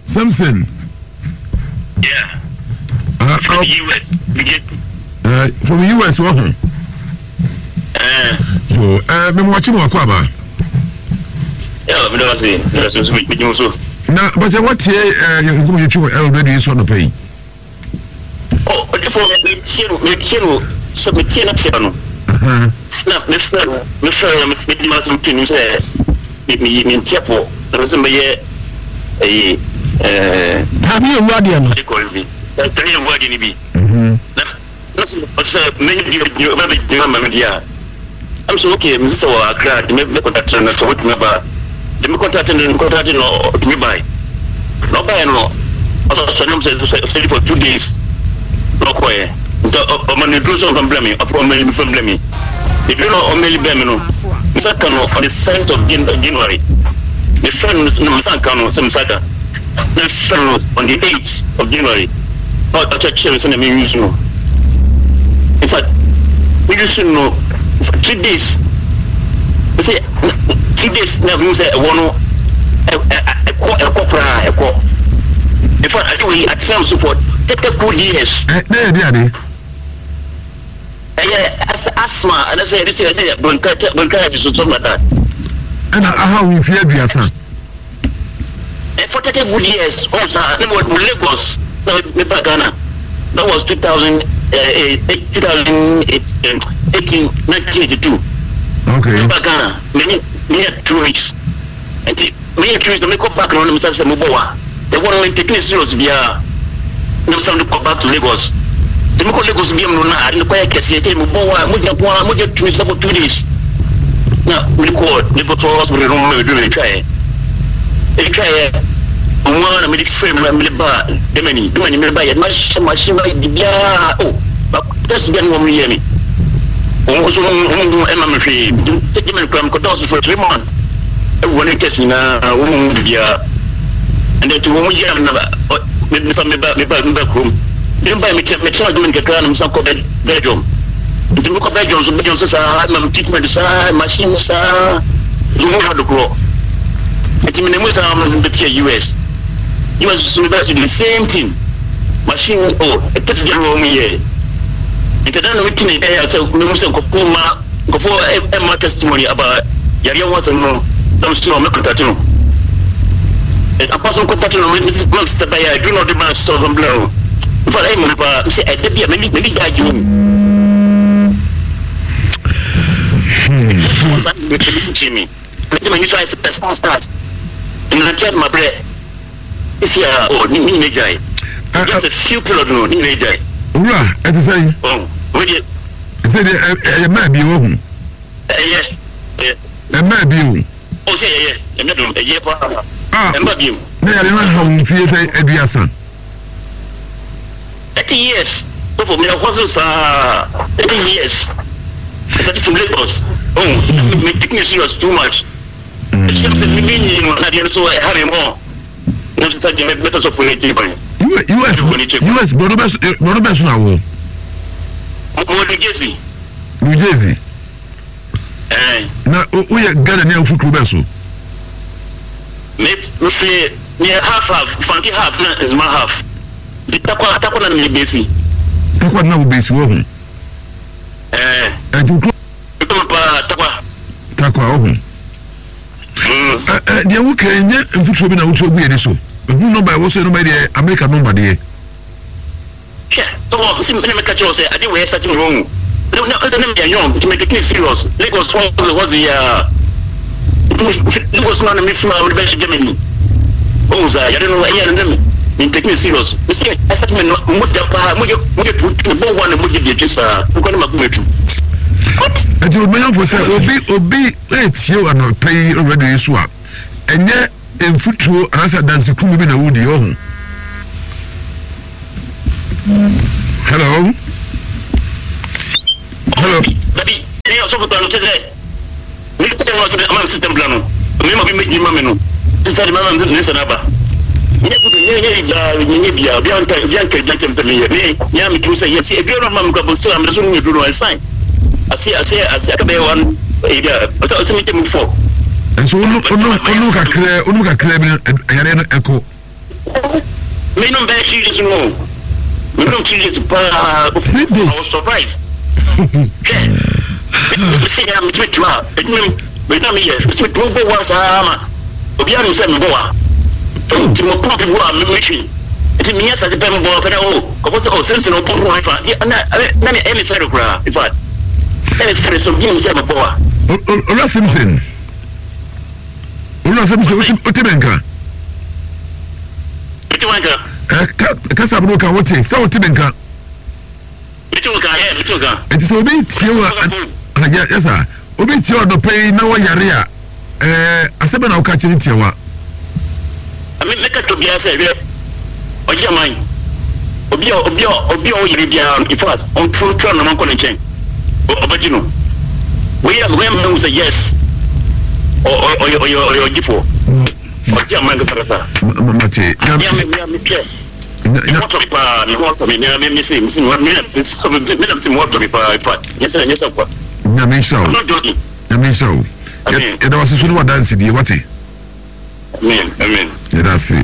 Simpson. Yeah. From US. From US wɔ ho. Yo, mɛ mo akyi mo akɔ aba. Yeah, mi dɔn se, mi dɔn se, mi mi so. Na bàtɛ wọ́n tie ẹ nkɔmɔ yɛ twi wɔ ɛrɔ radio yi so anɔpɛ yi. Oh, ɔdifo mi tie no, mi tie no, sɛ mi tie na tie no. Na mi fɛ no, mi fɛ no, mi di ma sɛ mi tie no sɛ mi mi mi ntiɛ pɔ, na mi sɛ mi yɛ. ɛyi ɛɛ. Taame yɛ wu adeɛ no. Ɛkɔl bi taame yɛ wu adeɛ no bi. Na na sɛ ɔsɛ mɛnyɛ bi bi ɔbɛ bɛ gyina ma mi di a. I'm so okay mi sɛ wɔ Accra de mɛ mɛ contact no sɛ ɔbɛtumi aba de mi contact no mi contact no ɔtumi bae na ɔbaeɛ no ɔsɛ ɔsɛ nam sɛ sɛ sɛ for 2 days na ɔkɔɛ nti ɔma no duro sɛ ɔmfa mbrɛ mi ɔfɔ ɔma no mfa mbrɛ mi eduro no ɔmɛli bɛn mi no nsa ka no on the 7th of January. Me frɛ no na nsa nka no sɛ nsa ka na frɛ no on the 8th of January na ɔkyerɛkyerɛ mi sɛ na mi use no. In fact, mi use no for 3 days. Sɛ 3 days na mi sɛ ɛwɔ no ɛkɔ ɛkɔ koraa ɛkɔ. In fact, ade wei atena mi so for 30 good years. Ɛ ne yɛ di ade. Ɛyɛ asthma ɛnɛ sɛ yɛde sɛ yɛsɛ bronchitis so something like that. Ɛna aha wo mfie 30. For 30 good years ɔn sa ne mo Lagos na me ba Ghana. That was 2000 2018 1982. Okay. Me ba Ghana me yɛ 2 weeks nti me yɛ 2 weeks na me kɔ back na ɔno me sa sɛ mo bɔ wa the one me taking it serious biara na me sa me kɔ back to Lagos nti me kɔ Lagos bi mu no na ade no kɔ yɛ kɛseɛ nti mo bɔ wa mo gyina ko a mo gyina 2 weeks for 2 days na me kɔ ne kɔ tɔ hospital no mo me do me twa yɛ etwa yɛ ɔmo ara na me de frɛ mu na me de ba Germany. Germany me ba yɛ ma hyɛ machine ma yɛ biara o ba test bi a ne wɔn yɛ mi wɔn nso wɔn ho ɛma me hwee. Germany kura me kɔ dɔɔso for 3 months ɛwɔ ne test nyinaa wɔn ho biara ɛnna nti wɔn yɛ na me me sa me ba kurom. Me ba me tɛ Germany kakra na me san kɔ Belgium. Nti me kɔ Belgium so, Belgium so saa ma me treatment saa machine saa so ho ha dokorɔ. Nti me na mu saa me bɛ tia US. US so me bɛ so the same thing machine o test bi a wɔn yɛ. Nti dan na me tumi ɛyɛ sɛ me mu sɛ nkɔfo ma nkɔfo ɛma testimony about yareɛ ho asɛm no na me so me contact no. Apa so contact no me me sɛ bɛyɛ aduru na ɔde ma sɛ ɔbɛn bla no. Nfa ɛyɛ mo paa sɛ ɛda bi a m'ani m'ani da agye mu. Ɔsan me me kyi mi. Me de m'ani so ayɛ sɛ stars stars. Nnankyɛ ma brɛ. Esi a o ne nyina gyae. Just a few period no ne nyina gyae. Owura ɛte sɛ yi. Oh, wei deɛ. Ɛsɛ deɛ ɛyɛ mmaa bi wɔ ho. Ɛyɛ. Ɛmmaa bi o. O sɛ ɛyɛ ɛmɛ dum ɛyɛ paa. Ah, ɛmmaa bi o. Na yàrá no ha wɔn fie sɛ 30. 30 years. Sɔfo mi ɛhɔ so saa 30 years. I started from Lagos. Oh, me take me serious too much. Ɛkyerɛ sɛ mi mi nyi no na deɛ nso ɛha mi mɔ. Na sɛ deɛ mɛtɔ sɔfo ne ti kwan. US US borɔdo bɛ so na wɔ. Mo New Jersey. New Jersey. Ɛɛ. Na woyɛ Ghana ni a wofi kuro bɛ so. Me me fi me yɛ half half Fanti half na Nzema half. Nti Tarkwa Tarkwa na me besi. Tarkwa na wo besi wɔ ho. Ɛɛ. Ɛnti kuro. Ɛtɔ paa Tarkwa. Tarkwa wɔ ho. Ɛ deɛ wo kɛn nyɛ mfuturo bi na wotu agu yɛn ani so. Ehu nɔmba ɛwɔ so yɛ nɔmba yi deɛ Amerika nɔmba deɛ. Hwɛ, sɔfo, nsi na meka kyerɛ wo sɛ ade wei asate me wahu. Na na sɛ na meyɛ young nti me take serious. Lagos hɔ dze hɔ dze yaa. Nti me Lagos no na me fi a mede bɛhyɛ Germany. Wahu saa yare no ɛyɛ no na me me take serious. Me sɛ asate me no mogya paa mogya mogya tu tu bɔ hɔ na mogya di akyi saa. Nkɔ ne makoma tu. Ɛti ɔmanyɔfo sɛ obi obi etie anɔpa yi radio yi so a ɛnyɛ mfuturo anaasɛ adansekumu bi na wodi ɔho. Hello. Hello. Dabi, ɛyɛ ɔsɔfo kura no kyɛ sɛ ne kyɛ no ɔsɛ ama system plan no. Me ma bi mɛgye ma me no. Sisa de ma ma ne nsa n'aba. Nyɛ kutu nyɛ nyɛ bia nyɛ bia obi anka obi anka obi anka mfɛ meyɛ me nyɛ me tumi sɛ yɛ si ebi ɔno ma me kura bɔ sɛ amena so ne duro no ɛsan ase ase ase aka bɛyɛ one ebi a ɔsɛ ɔsɛ me kyɛ mu fɔ. Nso onu onu onu kakra onu kakra bi ɛyare no ɛkɔ. Me nom bɛyɛ 3 days no. Me nom 3 days paa. 3 days. I was surprised. Hwɛ. Me se ya me tumi tuma. Edwuma me na me yɛ. Me tumi tuma bɔ wa saa ma. Obi anu sɛ me bɔ wa. Nti mo pump bi wa me me hwi. Nti me yɛ sa pɛ me bɔ pɛ na o. Kɔfɔ sɛ o sense no pump ho fa. Na na me ɛmi fɛre koraa. In fact. Ɛmi fɛre so bi nim sɛ me bɔ wa. Owura Simpson. Owura Simpson, wote me nka? Mete wo nka. Ɛ kasa bi no ka wote sɛ wote me nka. Mete wo nka ɛ mete wo nka. Nti sɛ obi tie wo a yɛ yɛ saa obi tie ɔdɔpɛ yi na wɔyare a ɛɛ asɛm bɛ na woka kyerɛ tia wa. Me mɛka kyerɛ obiara sɛ hwɛ ɔgye aman obi a obi a obi a ɔyare biara no in fact ɔntoro ntwa nnama nkɔ ne nkyɛn ɔbɛgye no wei a wei a mehu sɛ yes ɔyɛ ɔyɛ ɔyɛ ɔgyefoɔ ɔgye aman kasakasa. Mate. Me me me hwɛ me ho atɔ me paa me ho atɔ me me me se me se me me me na me se me ho atɔ me paa in fact nyɛ sɛ nyɛ sɛ kwa. Nyame nhyira wo. I'm not joking. Nyame nhyira wo. Yɛda wase so ne wadansedie wate. Amen amen. Yɛda ase.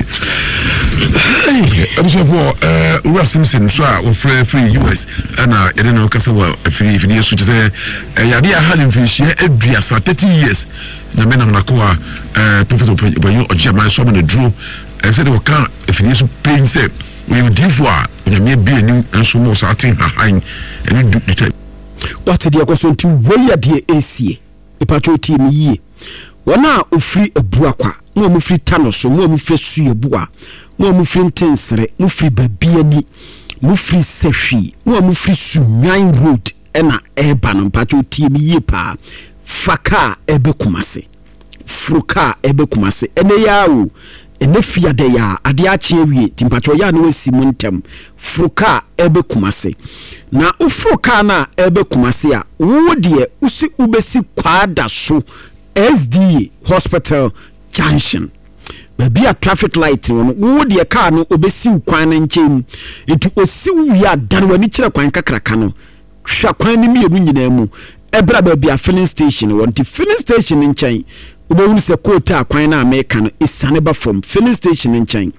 Abusuafoɔ eh, Owura Simpson nso a wɔfrɛ firi US ɛna yɛne no kasa wɔ afiri afidie so kyɛ sɛ ɛyɛ adeɛ aha ne mfirinhyia 30, 30 years. Nyame nam n'akoa eh, Prophet Ɔpanyin Ɔgye Aman so ama no aduro eh, sɛdeɛ ɔka afidie so pɛn sɛ ɔyɛ odiyifoɔ a Onyame abue anim nanso ma ɔsaa te nhahan ɛne du du Wate deɛ ɛkɔ so nti wei yɛ deɛ ɛresie. Mepakyɛw tie me yie. Wɔn a wɔfiri Abuakwa, mo a mofiri Tanoso, mo a mofiri Asuabua, mo a mofiri Ntensere, mofiri Babiani, mofiri Sahwi, mo a mofiri Sunnwan Road na ɛreba no, mepakyɛw tie me yie paa. Fa kaa ɛbɛ Kumasi. Foro kaa ɛbɛ Kumasi. Ɛnɛ yi ara o, ɛnɛ fiada yi ara, adeɛ akye awie, nti mpakyɛw yɛ a na wasi mu ntɛm. Foro kaa ɛbɛ Kumasi. Na woforo kaa no a ɛbɛ Kumasi a, wo deɛ wosi wobɛsi Kwadaso SDA Hospital Junction. Baabi a traffic light wɔ no, wo deɛ kaa no ɔbɛsi wo kwan no nkyɛn mu. Nti ɔsi wo wie a, dane w'ani kyerɛ kwan kakraka no. Hwɛ kwan no mmienu nyinaa mu bra baabi a filling station wɔ. Nti filling station no nkyɛn, wobɛhunu sɛ kootaa kwan no a meka no, ɛsiane ba fam. Filling station no nkyɛn,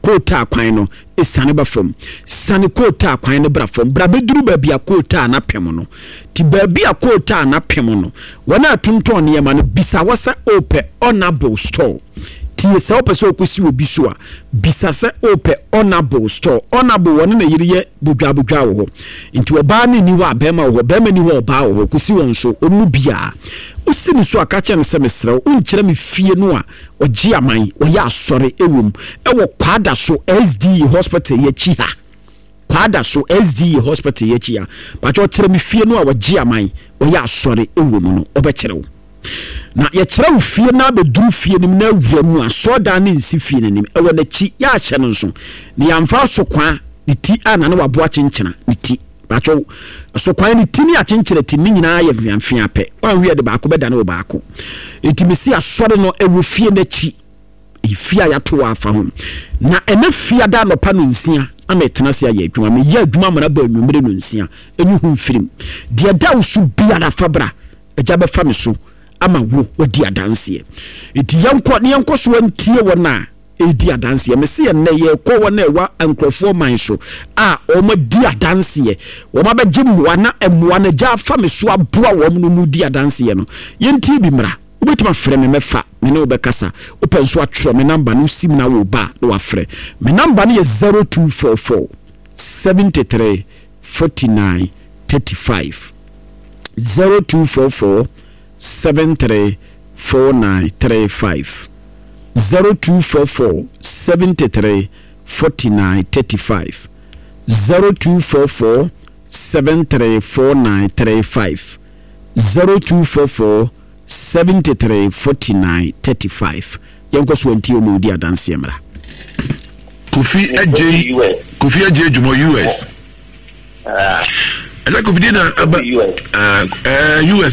kootaa kwan no ɛsiane ba fam. Siane kootaa kwan no bra fam. Bra bɛduru baabi a kootaa no apem no. Nti baabi a kootaa no apem no, wɔn a ɛtontɔn nneɛma no, bisa hɔ sɛ wopɛ Honourable store. Tie, sɛ wopɛ sɛ wokɔsi obi so a, bisa sɛ wopɛ Honourable store. Honourable, wɔne ne yere yɛ bodwaabodwaa wɔ hɔ. Nti ɔbaa no nni hɔ a, barima wɔ hɔ. Barima nni hɔ a, ɔbaa wɔ hɔ. Kɔsi wɔn so, wɔn mu biara. Wosi ne so a, ka kyerɛ no sɛ, Mesrɛ wo, wonkyerɛ me fie no a ɔgye aman, wɔyɛ asɔre wɔ mu, wɔ Kwadaso SDA Hospital yi akyi ha. Kwadaso SDA Hospital yi akyi ha. Pakyɛ ɔkyerɛ me fie no a ɔgye aman, wɔyɛ asɔre wɔ mu no, ɔbɛkyerɛ wo. Na yɛkyerɛ wo fie na abɛduru fie no mu na awura mu a, asɔredan no nsi fie no anim, ɛwɔ n'akyi. Yɛahyɛ no nso, na yɛamfa asokwa ne ti a na ne waboa kyenkyena ne ti. Pakyɛw, asokwa ne ti ne akyenkyena ti ne nyinaa yɛ mfeamfea pɛ. Wanhwɛ yɛ de baako bɛdane wɔ baako. Enti mese asɔre no ɛwɔ fie no akyi. Ɛyɛ fie a yɛato wɔ afa ho. Na ɛnɛ fiada anɔpa nonsia na metena ase ayɛ adwuma. Meyɛ adwuma ma no abɔ anwummere nonsia. Ɛnyi ho mfirim. Deɛ ɛda wo so biara fa bra. Agya bɛfa me so ama wo wadi adanseɛ. Enti yɛnkɔ na yɛnkɔ so ntie wɔn a ɛredi adanseɛ. Mese ɛnnɛ yɛrekɔ wɔn a ɛwɔ nkurɔfoɔ man so a wɔadi adanseɛ, wɔn abɛgye mmoa na mmoa no Agya afa me so aboa wɔn na wɔredi adanseɛ no. Yɛntie bi mmra. Wobɛtumi afrɛ me mɛfa, me ne wo bɛkasa. Wopɛ nso atwerɛ me namba no, wosim na woreba a na wafrɛ. Me namba no yɛ 0244 73 49 35. 0244 73 49 35 0244 73 49 35 0244 73 49 35 0244 73 49 35 Yɛnkɔ so ntie wɔn a wɔdi adanseɛ mmra. Kofi Adjei Kofi Adjei Adwuma US. Ɛna Kofi deɛ na aba US.